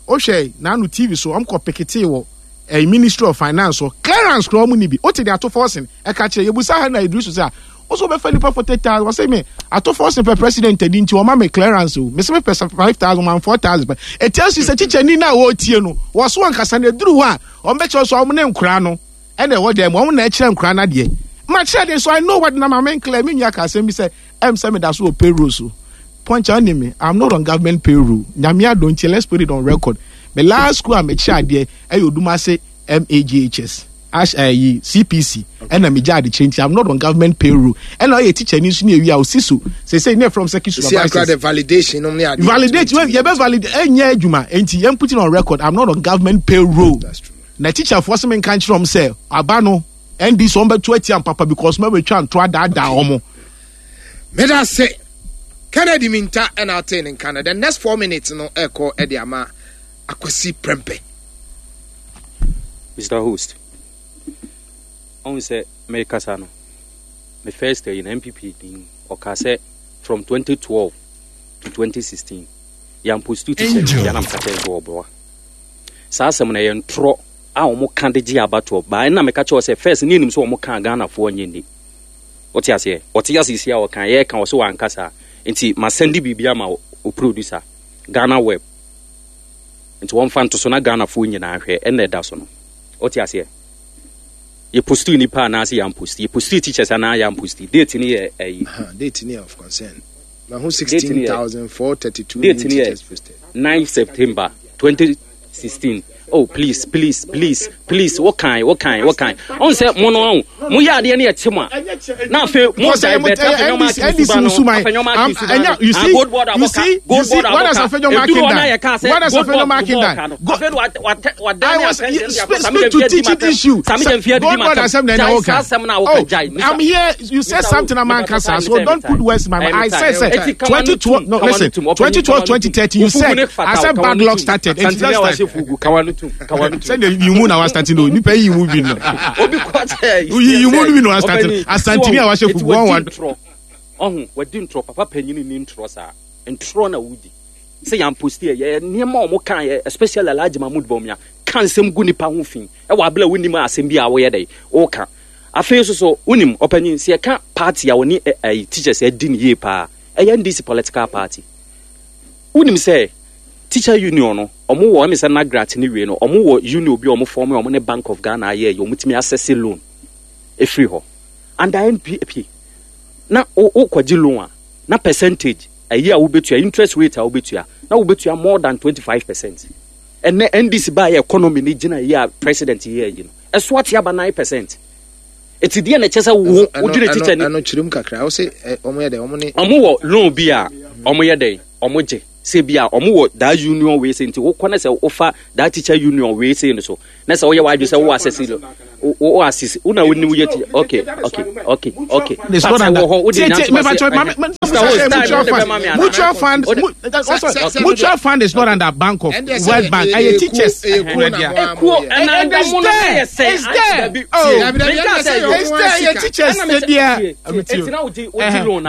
Wohwɛ n'ano T V so, ɔmo kɔ peketee wɔ ɛyɛ Ministry of Finance so clearance kura ɔmo ni bi wote de Ato Forson ɛka kyerɛ yɛbusa ha na Idrisu sɛ a wosɛ wobɛfa nipa forty thousand, wɔsɛ me Ato Forson pɛ president adi nti ɔma me clearance o, mese mepɛ five thousand one four thousand pɛ. Ɛtia si sɛ kyikyɛni no a wɔretie no wɔso ankasa no ɛduru hɔ a ɔmbɛkyerɛ so ɔmo ne nkora no ɛna ɛwɔ dɛm, ɔmo na ɛkyerɛ nkora no adeɛ ma kyerɛ de. So I know what na ma menclear. Me nua ka asɛm bi sɛ ɛm sɛ meda so wɔ payroll so. Punch on me, I'm not on government payroll. Nyame adom nti, let's put it on record, me last school a mekyerɛ adeɛ ɛyɛ Odumase M A G H S ash ɛyi C P C, ɛna megya ade kyerɛ nti I'm not on government payroll. Ɛna ɔyɛ teacher ni nso ne ewi a osi so sese ne from sɛ See, akora supervisors the validation nom ne adeɛ. Validate yɛbɛ validate ɛnyɛ adwuma nti yɛn put it on record, I'm not on government payroll. That's true. Na teacher foɔ sɛ menka nkyerɛ wɔn sɛ aba no N D C wɔn bɛto atia mpapa because mɛbɛtwa nto adaadaa wɔn. Meda se Kennedy Minta ɛna ate ne nka no. The next four minutes no ɛkɔ ɛde ama Akwasi Prempeh. Mister Host, ɔhu sɛ mekasa no, me first yi na N P P din ɔka sɛ from twenty twelve to twenty sixteen yɛampost teacher no biara, meka kyerɛ sɛ ɔboa saa asɛm no, ɛyɛ ntorɔ a wɔn ka de gye abatoɔ baa. Ɛna meka kyerɛ sɛ first ne anim sɛ wɔn ka Ghanafoɔ nyɛ ni, wote aseɛ? Ɔte ase si a ɔka yɛka wɔ sɛ wanka saa nti masend biribi ama o producer Ghana Web nti wɔmfa nto so na Ghanafoɔ nyinaa hwɛ. Ɛna ɛda so no, wote aseɛ? Yɛpost nipa anaasɛ yɛampost, yɛpost teachers anaa yɛampost, date no yɛ ɛyi. Uh-huh. Date ni of concern. Mahu Date ni yɛ- sixteen thousand four thirty two date ni yɛ teachers posted. nine September twenty sixteen. Oh please, please, please, please, wɔkan wɔkan wɔkan ɔn sɛ mo no ɔn mo yɛ adeɛ no yɛ te mo a na afei mo Because divert ɛyɛ Afenyo N D C Susuman. Afenyo Um, you see, you see, you see, what has Afenyo Markin done? What has Afenyo Markin done? Go, I was speak, speak to teaching issue. Gold Board asɛm na ɛna woka. Oh, I'm here. You said something about Kasa, so don't put words in my mouth. I said, said twenty twelve. No, listen. twenty twelve, twenty thirteen. You said I said bad luck started. It's just sɛ de yimu na wa starting o nipa yi yimu bi no. Yi yimu bi na wa starting. Asantini a wahyɛ fugu one one. Ɔho wadi ntorɔ papa panyin ni ntorɔ saa ntorɔ na wodi sɛ yɛn post yɛ yɛ nneɛma a wɔn kan yɛ, especially Alhaji Mahmood Bawumia ka nsɛm gu nipa ho fi ɛwɔ abila wonim asɛm bi a wɔyɛ dɛ wɔka. Afei nso so wonim ɔpanyin sɛ yɛka party a wɔne ɛ ɛyi teachers ɛdi ne yie paa, ɛyɛ N D C political party. Wonim sɛ teacher union no ɔmo wɔ ɛmi sɛ NAGRAT ne wie no, ɔmo wɔ union bi a ɔmo form a ɔmo ne Bank of Ghana ayɛ yɛ ɔmo tumi access loan efiri hɔ under N P P. Na wokɔgye loan a, na percentage ɛyi a wobɛtua, interest rate a wobɛtua, na wobɛtua more than twenty-five percent. Ɛnɛ N D C baa yɛ, economy ne gyina yi a president yɛ yi no, ɛso ate aba nine percent. Eti deɛ na ɛkyɛ sɛ wo wodwene teacher ni. Ɛno kyerɛm kakra, wo sɛ ɔmo yɛ dɛ, ɔmo ne Ɔmo wɔ loan bi a ɔmo yɛ dɛ ɔmo gye sɛ bi a ɔmo wɔ daa union wei sɛ, nti wokɔ ne sɛ wofa daa teacher union wei sɛ no so na sɛ woyɛ w'adwe sɛ wo asɛse no, wo asese wo na wonim yɛ teacher. okay okay okay okay It's not under. Mutual fund, mutual fund, mutual fund is not under Bank of World Bank. Ɛyɛ teachers. Ekuo ɛna It's there. It's there. Oh, it's there. Ɛyɛ teachers deɛ.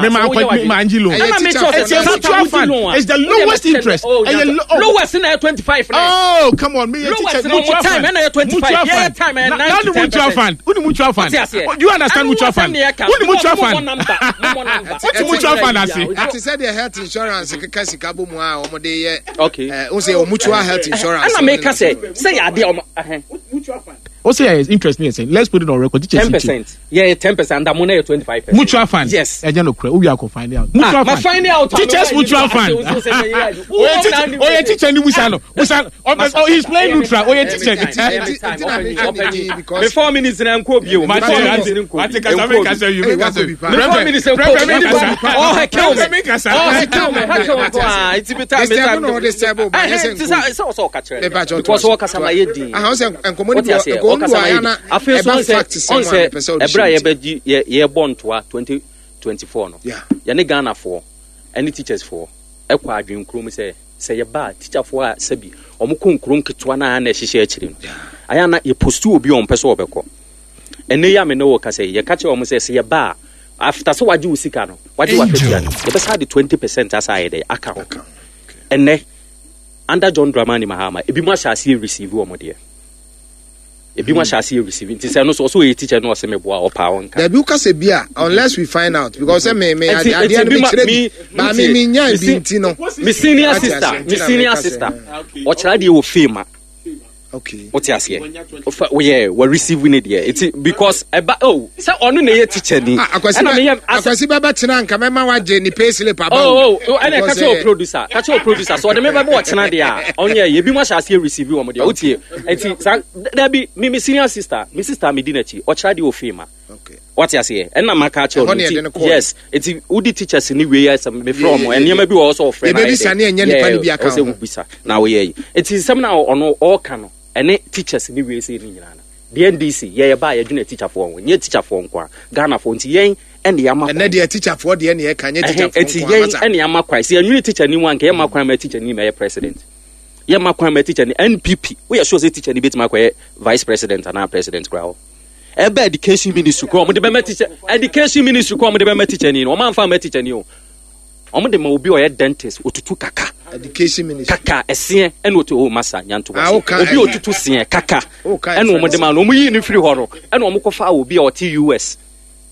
Me ma me ma nji loan. It's a mutual fund. It's the lowest interest. Ɛyɛ lowest na yɛ twenty five. Oh, come on, me yɛ teacher mutual fund. Time ɛna yɛ twenty five. Yɛ time ɛna nine to ten mutual fund. Who mutual fund? Do you understand mutual fund? Who mutual fund? What mutual fund ase? Ati sɛ deɛ health insurance keka sika bɔ mu a wɔn de yɛ. Okay. Ɛɛ n sɛ mutual health insurance. Ɛna mi ka sɛ sɛ yɛ adeɛ ɔmo. Mutual fund. O say yes, interest ni yɛ sɛ, let's put it on record. Ten percent. Yeah, ten percent. And na yɛ twenty five percent. Mutual fund. Yes. Ɛjẹ no kura, owi akɔ find out. Mutual ah, fund. Ma find out. Teachers mutual fund. Oye teacher, oye teacher ni busa no. Busa, oh, he's playing neutral. Oye teacher. Me four minutes na nko bi o. Me four minutes nko. Ati kasa mi kasa yi mi kasa. Me four minutes nko. Oh, he kill me. Oh, he kill me. He kill me. Ah, it's bi time. Disturb no disturb ba yɛ sɛ nko. Sɛ sɛ ɔka kyerɛ. Because ɔkasa ma yɛ din. Ah, sɛ nkɔmɔ ni bi nkɔmɔ ni bi ayɛ na ɛba fact sɛ mo a mepɛ sɛ ɔde ɛbrɛ a yɛbɛgye yɛ yɛbɔ ntoa twenty twenty four no, yɛne Ghanafoɔ ɛne teachers foɔ ɛkɔ adwene kurom sɛ sɛ yɛba a, teacherfoɔ a sɛbi ɔmo kɔ nkuro nketewa na na ɛhyehyɛ akyire no, ayɛ na yɛpost obi a ɔmpɛ sɛ ɔbɛkɔ. Ɛnɛ yi a me ne wɔ kasa yi, yɛka kyerɛ ɔmo sɛ sɛ yɛba a, after sɛ wagye wo sika no, wagye w'akatua no, yɛbɛsa de twenty percent asa ayɛ dɛ aka ho. Ɛnɛ under John Dramani Mahama, ebi mu ahyɛ aseɛ receive wɔn deɛ, ebi mu ahyɛ aseɛ receive. Nti sɛ no so ɔsɛ ɔyɛ teacher no, ɔsɛ meboa ɔpaa ɔnka. Dabi, wokasa bi a, unless we find out, because sɛ me me adeɛ no mekyerɛ bi ba me me nya bi nti no. Me senior sister me senior sister ɔkyerɛ adeɛ wɔ fame a okay wote aseɛ, woyɛ wɔ receive ne deɛ, eti because ɛba, oh, sɛ ɔno na ɛyɛ teacher ni. Ɛna meyɛ Akwasi bɛbɛ tena nka mɛma wagye ne pay slip aba. Oh oh, ɛna ɛka kyerɛ o producer, ka kyerɛ o producer sɛ ɔde me bɛbɛ ɔkyena deɛ a, ɔnyɛ yɛ ebi mu ahyɛ aseɛ receive wɔn deɛ. Wotie, eti sa dabi, mi mi senior sister, mi sister mi di n'akyi, ɔkyerɛ adeɛ wɔ fame a, wate aseɛ, ɛna maka akyerɛ ɔno nti, yes, eti wodi teachers ni wei ɛsɛ mefrɛ ɔmo nneɛma bi wɔ hɔ sɛ ɔfrɛ na yɛbɛbisa ne ɛnyɛ nipa no bi aka ho ɔsɛ wobisa na woyɛ yi. Eti nsɛm na ɔno ɔɔka no ɛne teachers ni wei sɛ ne nyinaa no deɛ, N D C yɛyɛ ba a, yɛdwene teacherfoɔ ho, nyɛ teacherfoɔ nko a, Ghanafoɔ. Nti yɛn ɛne yɛama kwan. Ɛnɛ deɛ teacherfoɔ deɛ ne yɛka, nyɛ teacherfoɔ nko a. Eti yɛn ɛne yɛama kwan sɛ yɛnwene teacher ni mu anka yɛma kwan ma teacher ni ma yɛ president, yɛma kwan ma teacher ni N P P. Woyɛ sure sɛ teacher ni bɛtumi akɔyɛ vice president anaa president koraa hɔ? Ɛbɛ education ministry kɔ, ɔmo de bɛma teacher, education ministry kɔ, ɔmo de bɛma teacher ni no, ɔmo anfa ma teacher ni o, ɔmo de ma obi a ɔyɛ dentist, otutu kaka. Education ministry. Kaka ɛseɛ ɛna otu o masa nyanto wase, obi a otutu seɛ kaka ɛna ɔmo de ma no. Ɔmo yi ne firi hɔ no, ɛna ɔmo kɔfa obi a ɔte U S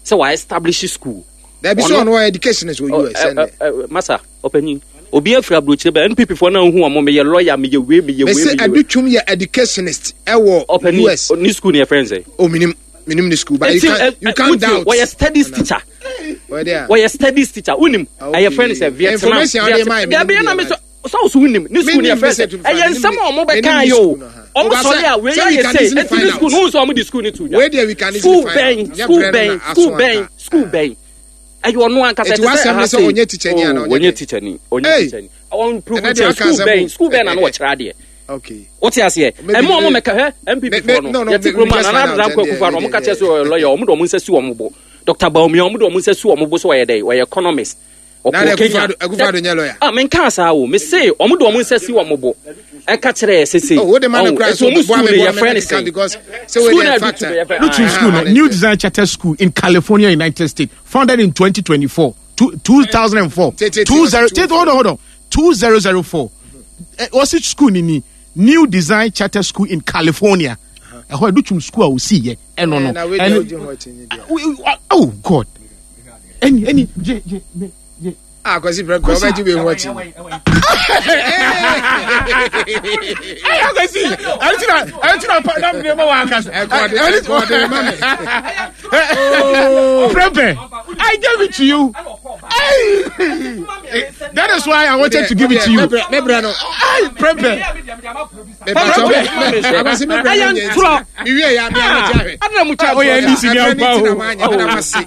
sɛ wa establish school. Dabi, sɛ ɔno education is wɔ U S ɛnɛ. Masa ɔpanyin, obi afiri aburokyire bɛ N P P foɔ na ohu ɔmo, meyɛ lawyer, meyɛ wei, meyɛ wei. Mese Adutwum yɛ educationist ɛwɔ U S. Ɔpanyin, ne school ni yɛ fɛn sɛ. O minim minim ne school, but you can you can doubt. Wɔyɛ studies teacher, wɔyɛ studies teacher, wunim ɛyɛ fɛn sɛ Vietnam. Vietnam dabi, ɛna mi sɔ sɛ ɔso wunim ne school ni yɛ fɛn sɛ ɛyɛ nsɛm a ɔmo bɛ kan yɛ o, ɔmo sɔre a wei ayɛ sɛ ɛti ne school no sɛ ɔmo di school ni tu dwa. School bɛn, school bɛn, school bɛn, school bɛn? Ɛyɛ ɔno ankasa ɛte sɛ ɛha sɛ ɔnyɛ teacher ni ana? Ɔnyɛ teacher ni, ɔnyɛ teacher ni, ɔn prove kyerɛ school bɛn, school bɛn na no wɔkyerɛ adeɛ? Wote aseɛ, ɛmu ɔmo mɛka hɛ N P P foɔ no, yɛte kurom a Nana Addo Dankwa Akufo Addo, ɔmo ka kyerɛ sɛ ɔyɛ lawyer, ɔmo de ɔmo nsa si ɔmo bo. Doctor Bawumia, ɔmo de ɔmo nsa si ɔmo bo sɛ ɔyɛ dɛ ɔyɛ economist. Ɔkɔ Kenya. Akufo-Addo nyɛ lawyer. Ah, menka saa o, me se ɔmo de ɔmo nsa si ɔmo bo ɛka kyerɛ yɛ sese ɔmo ɛti ɔmo school no yɛfrɛ ne sɛn? School na ɛdu tu yɛfrɛ Lutu school no, New Design Charter School in California, United States, founded in twenty twenty-four, two, two thousand four, two zero, hold on, hold on, two thousand four. Wɔsi school ni ni New Design Charter School in California. Ɛhɔ Adutwum school a osi yɛ ɛno no ɛno. Oh God, ɛni ɛni gye gye gye. Ah, Kwasi Prɛmpɛ, ɔbɛgye wei ho akyi. Hey, Akwasi, ɛno ti na ɛno ti na pa na mene ma wa akasa. Ɛkɔde ɛkɔde ma me. Prempeh, I gave it to you. Hey, that is why I wanted to give it to you. Mebrɛ no. Hey, Prempeh. Akwasi mebrɛ no nyɛ nti. Mewie ya me amegye ahwɛ. Adana mu kya Oyɛ N D C ni Ɛbrɛ ampa ne ti na o. maanyɛ meda mo ase.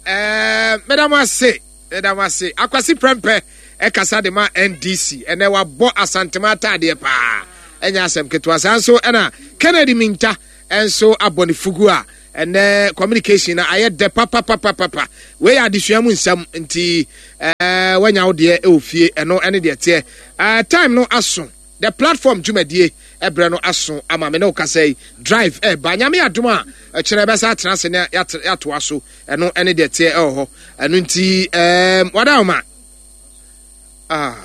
Ɛɛ, meda mo ase. Meda mo ase. Akwasi Prempeh ɛkasa de ma N D C. Ɛnɛ wabɔ Asantema ataadeɛ paa. Ɛnyɛ asɛm ketewa. Saa nso ɛna Kennedy Minta ɛnso abɔ ne fugu a ɛnɛ communication na ayɛ dɛ papapapapa. Wei yɛ adesua mu nsɛm nti ɛɛ wanya wo deɛ ɛwɔ fie ɛno ɛne deɛ teɛ. Ɛɛ time no aso. The platform dwumadie ɛbrɛ no aso ama me ne wo kasa yi drive ɛba nyame adom a ɛkyerɛ bɛsa atena ase ne yɛatoa so ɛno ɛne deɛ teɛ ɛwɔ hɔ ɛno nti ɛɛm wada wo ma. Ah,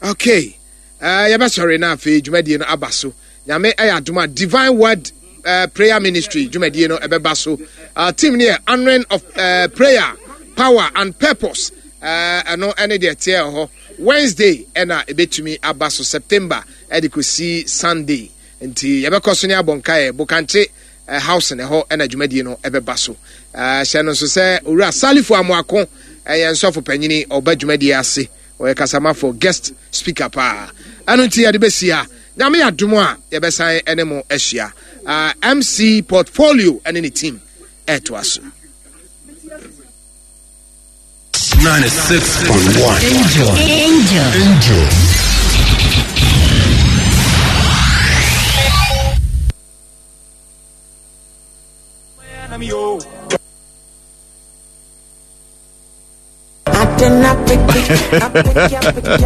okay. Uh, yɛbɛsɔre na afei dwumadie no aba so. Nyame ɛyɛ adom a Divine Word uh, Prayer Ministry dwumadie no ɛbɛba so. Uh, team no yɛ Honoring of uh, Prayer, Power and Purpose. Ɛno ɛne deɛ teɛ ɛwɔ hɔ. Wednesday ɛna ɛbɛtumi aba so September ɛde kɔsi Sunday. Nti yɛbɛkɔ so ne abɔ nkaeɛ Bokankye uh, house ne hɔ ɛna dwumadie no ɛbɛba so. Uh, hyɛ no nso sɛ Owura Salifu Amoako ɛyɛ nsɔfo panyini ɔba dwumadie ase. Ɔyɛ kasamafo guest speaker paa. Ɛno nti yɛde bɛsi ha. Nyame adom a yɛbɛsan ɛne mo ahyia. Uh, M C Portfolio ɛne ne team ɛtoa so. ninety-six point one. Angel. Angel. Angel.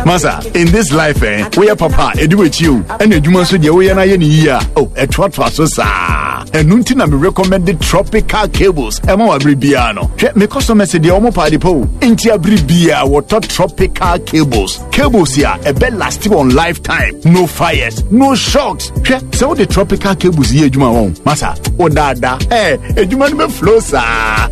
Masa, in this life, eh, we are papa, edu with you, and you must do we are na year. Oh, a trot so sa. And nuntina me recommended tropical cables. Ema wa bribiano. Me customer said the omo party po. Inti abribia water tropical cables. Cables here, a bed last on lifetime. No fires, no shocks. So the tropical cables here, juma on. Masa, oh dada, eh, ejuma me flow sa.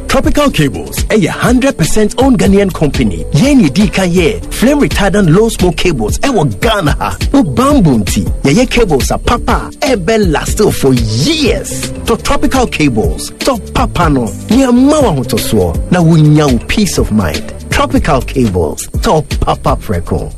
Tropical Cables, a hundred percent owned Ghanaian company. Yen dika ye flame retardant low smoke cables. Ewo Ghana. O bamboo tea. Ye cables are papa. Ebe last still for years. To Tropical Cables. To papa no. Ni mawa hotoswo. Na wunya peace of mind. Tropical Cables. To papa preko.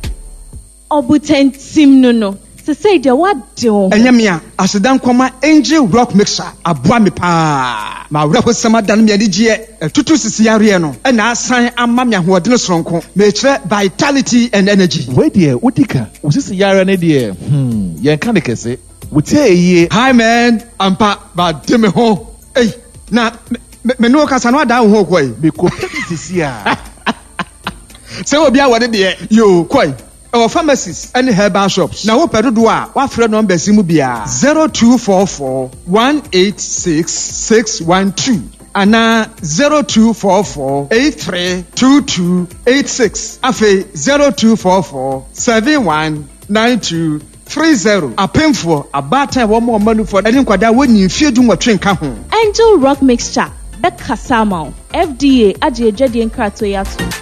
Obutentim no no. Se say de what do. Enyamia asidan koma Angel Rock Mixer aboa me pa. Ma wura hosama dan me anigye tutu sisi yare no e na asan ama me ahoɔden soronko. Me kyerɛ vitality and energy. We de wodika wo sisi yare ne de hmm yen ka ne kese. Wo tie yie. Hi man, ampa ba de me ho. Ei na me no kasa no ada ho koi. Me ko sisi a. Se obi a wode de yo koi. Our pharmacies and herbal shops. Now, open do what friend numbers mu bia zero two four four one eight six six one two and zero two four four eight three two two eight six. Afe zero two four four seven one nine two three zero. Apemfo abata wo mo manu for any kwada wo nyi fie dum wo ka ho. Angel Rock Mixture be kasama F D A agye adwade nkrato yato.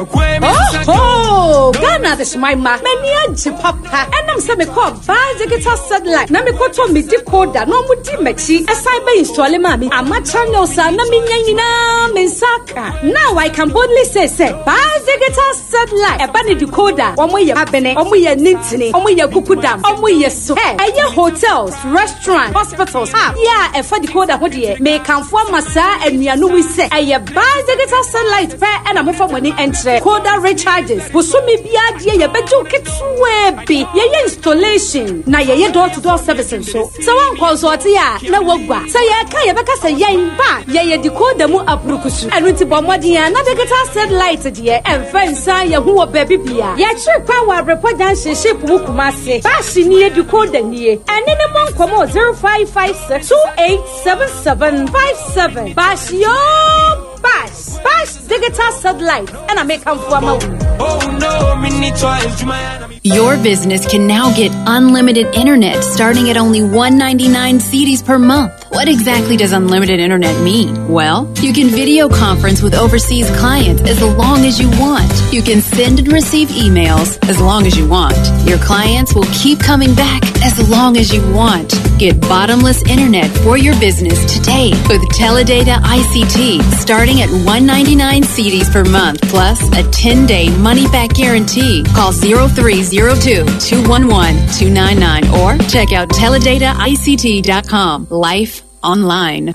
Oh, oh, Ghana this my ma. Many a papa. And I'm saying, call buy digital satellite. Na me koto me decoder. No mu di mechi. A cyber install mami. Ama channel sa na mi nyina me saka. Now I can boldly say say buy digital satellite. E ba ni decoder. Omo ye abene. Omo ye nintini. Omo ye kukudam. Omo ye so. Hey, eye hotels, restaurant, hospitals. Ah, yeah, e fa decoder ho de. Me kanfo masa enuanu se. Eye buy digital satellite pe na mo fa money entre. Coda recharges. Bosumi bia die ye bejo ketwe bi. Ye ye installation na ye ye door to door service nso. So wan consult ya na wagwa. Say ye ka ye beka say ye ba ye ye decoder mu aprukusu. Enu nti bo modin ya na digital satellite de emfa nsan ye hu wo ba bibia. Ye chiri kwa wa report junction ship mu Kumase. Bashi ni ye decoder ni. Ene ne mo nkomo zero five five six two eight seven seven five seven. Bashi yo Bash. Bash digital satellite. And I make come for my. Oh no, me need choice. Your business can now get unlimited internet starting at only one ninety-nine cedis per month. What exactly does unlimited internet mean? Well, you can video conference with overseas clients as long as you want. You can send and receive emails as long as you want. Your clients will keep coming back as long as you want. Get bottomless internet for your business today with Teledata I C T starting at one ninety-nine cedis per month plus a ten-day money-back guarantee. Call zero three zero two, two one one, two nine nine or check out teledata I C T dot com. Life online.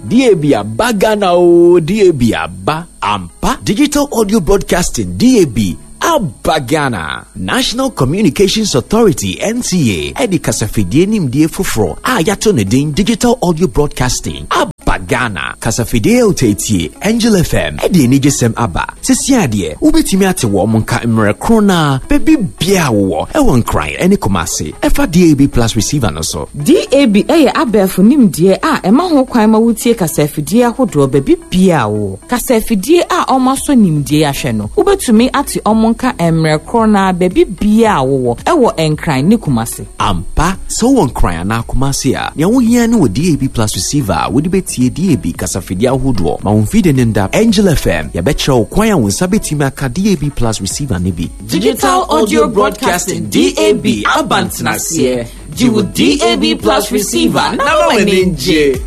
D A B aba Ghana o, D A B aba ampa. Digital Audio Broadcasting D A B aba Ghana. National Communications Authority N C A edi kasafidie nimdie foforo a yato ne din Digital Audio Broadcasting aba Ghana. Kasafidie otetie Angel F M edi enigesem aba. Sisi ade wobetimi ate wo monka mmerɛ kro na bebi bia wo ewo nkran ene Kumasi. Efa D A B plus receiver no so. D A B eye abefo nimdie a ema ho kwan ma wutie kasafidie ahodo bebi bia wo. Kasafidie a omaso nimdie ahwe no. Wobetumi ate omonka mmerɛ kro na bebi bia wo ewo nkran ne Kumasi. Ampa so wo nkran na Kumasi a ne wo hia ne wo D A B plus receiver wo de betie D A B kasafidie ahodo ma wo mfide ne nda Angel F M ya bekyerɛ wo kwan a wo nsa betimi aka D A B plus receiver ne bi. Digital Audio Broadcasting D A B abantenaseɛ. Gye wo D A B plus receiver na ma w'ani ngye.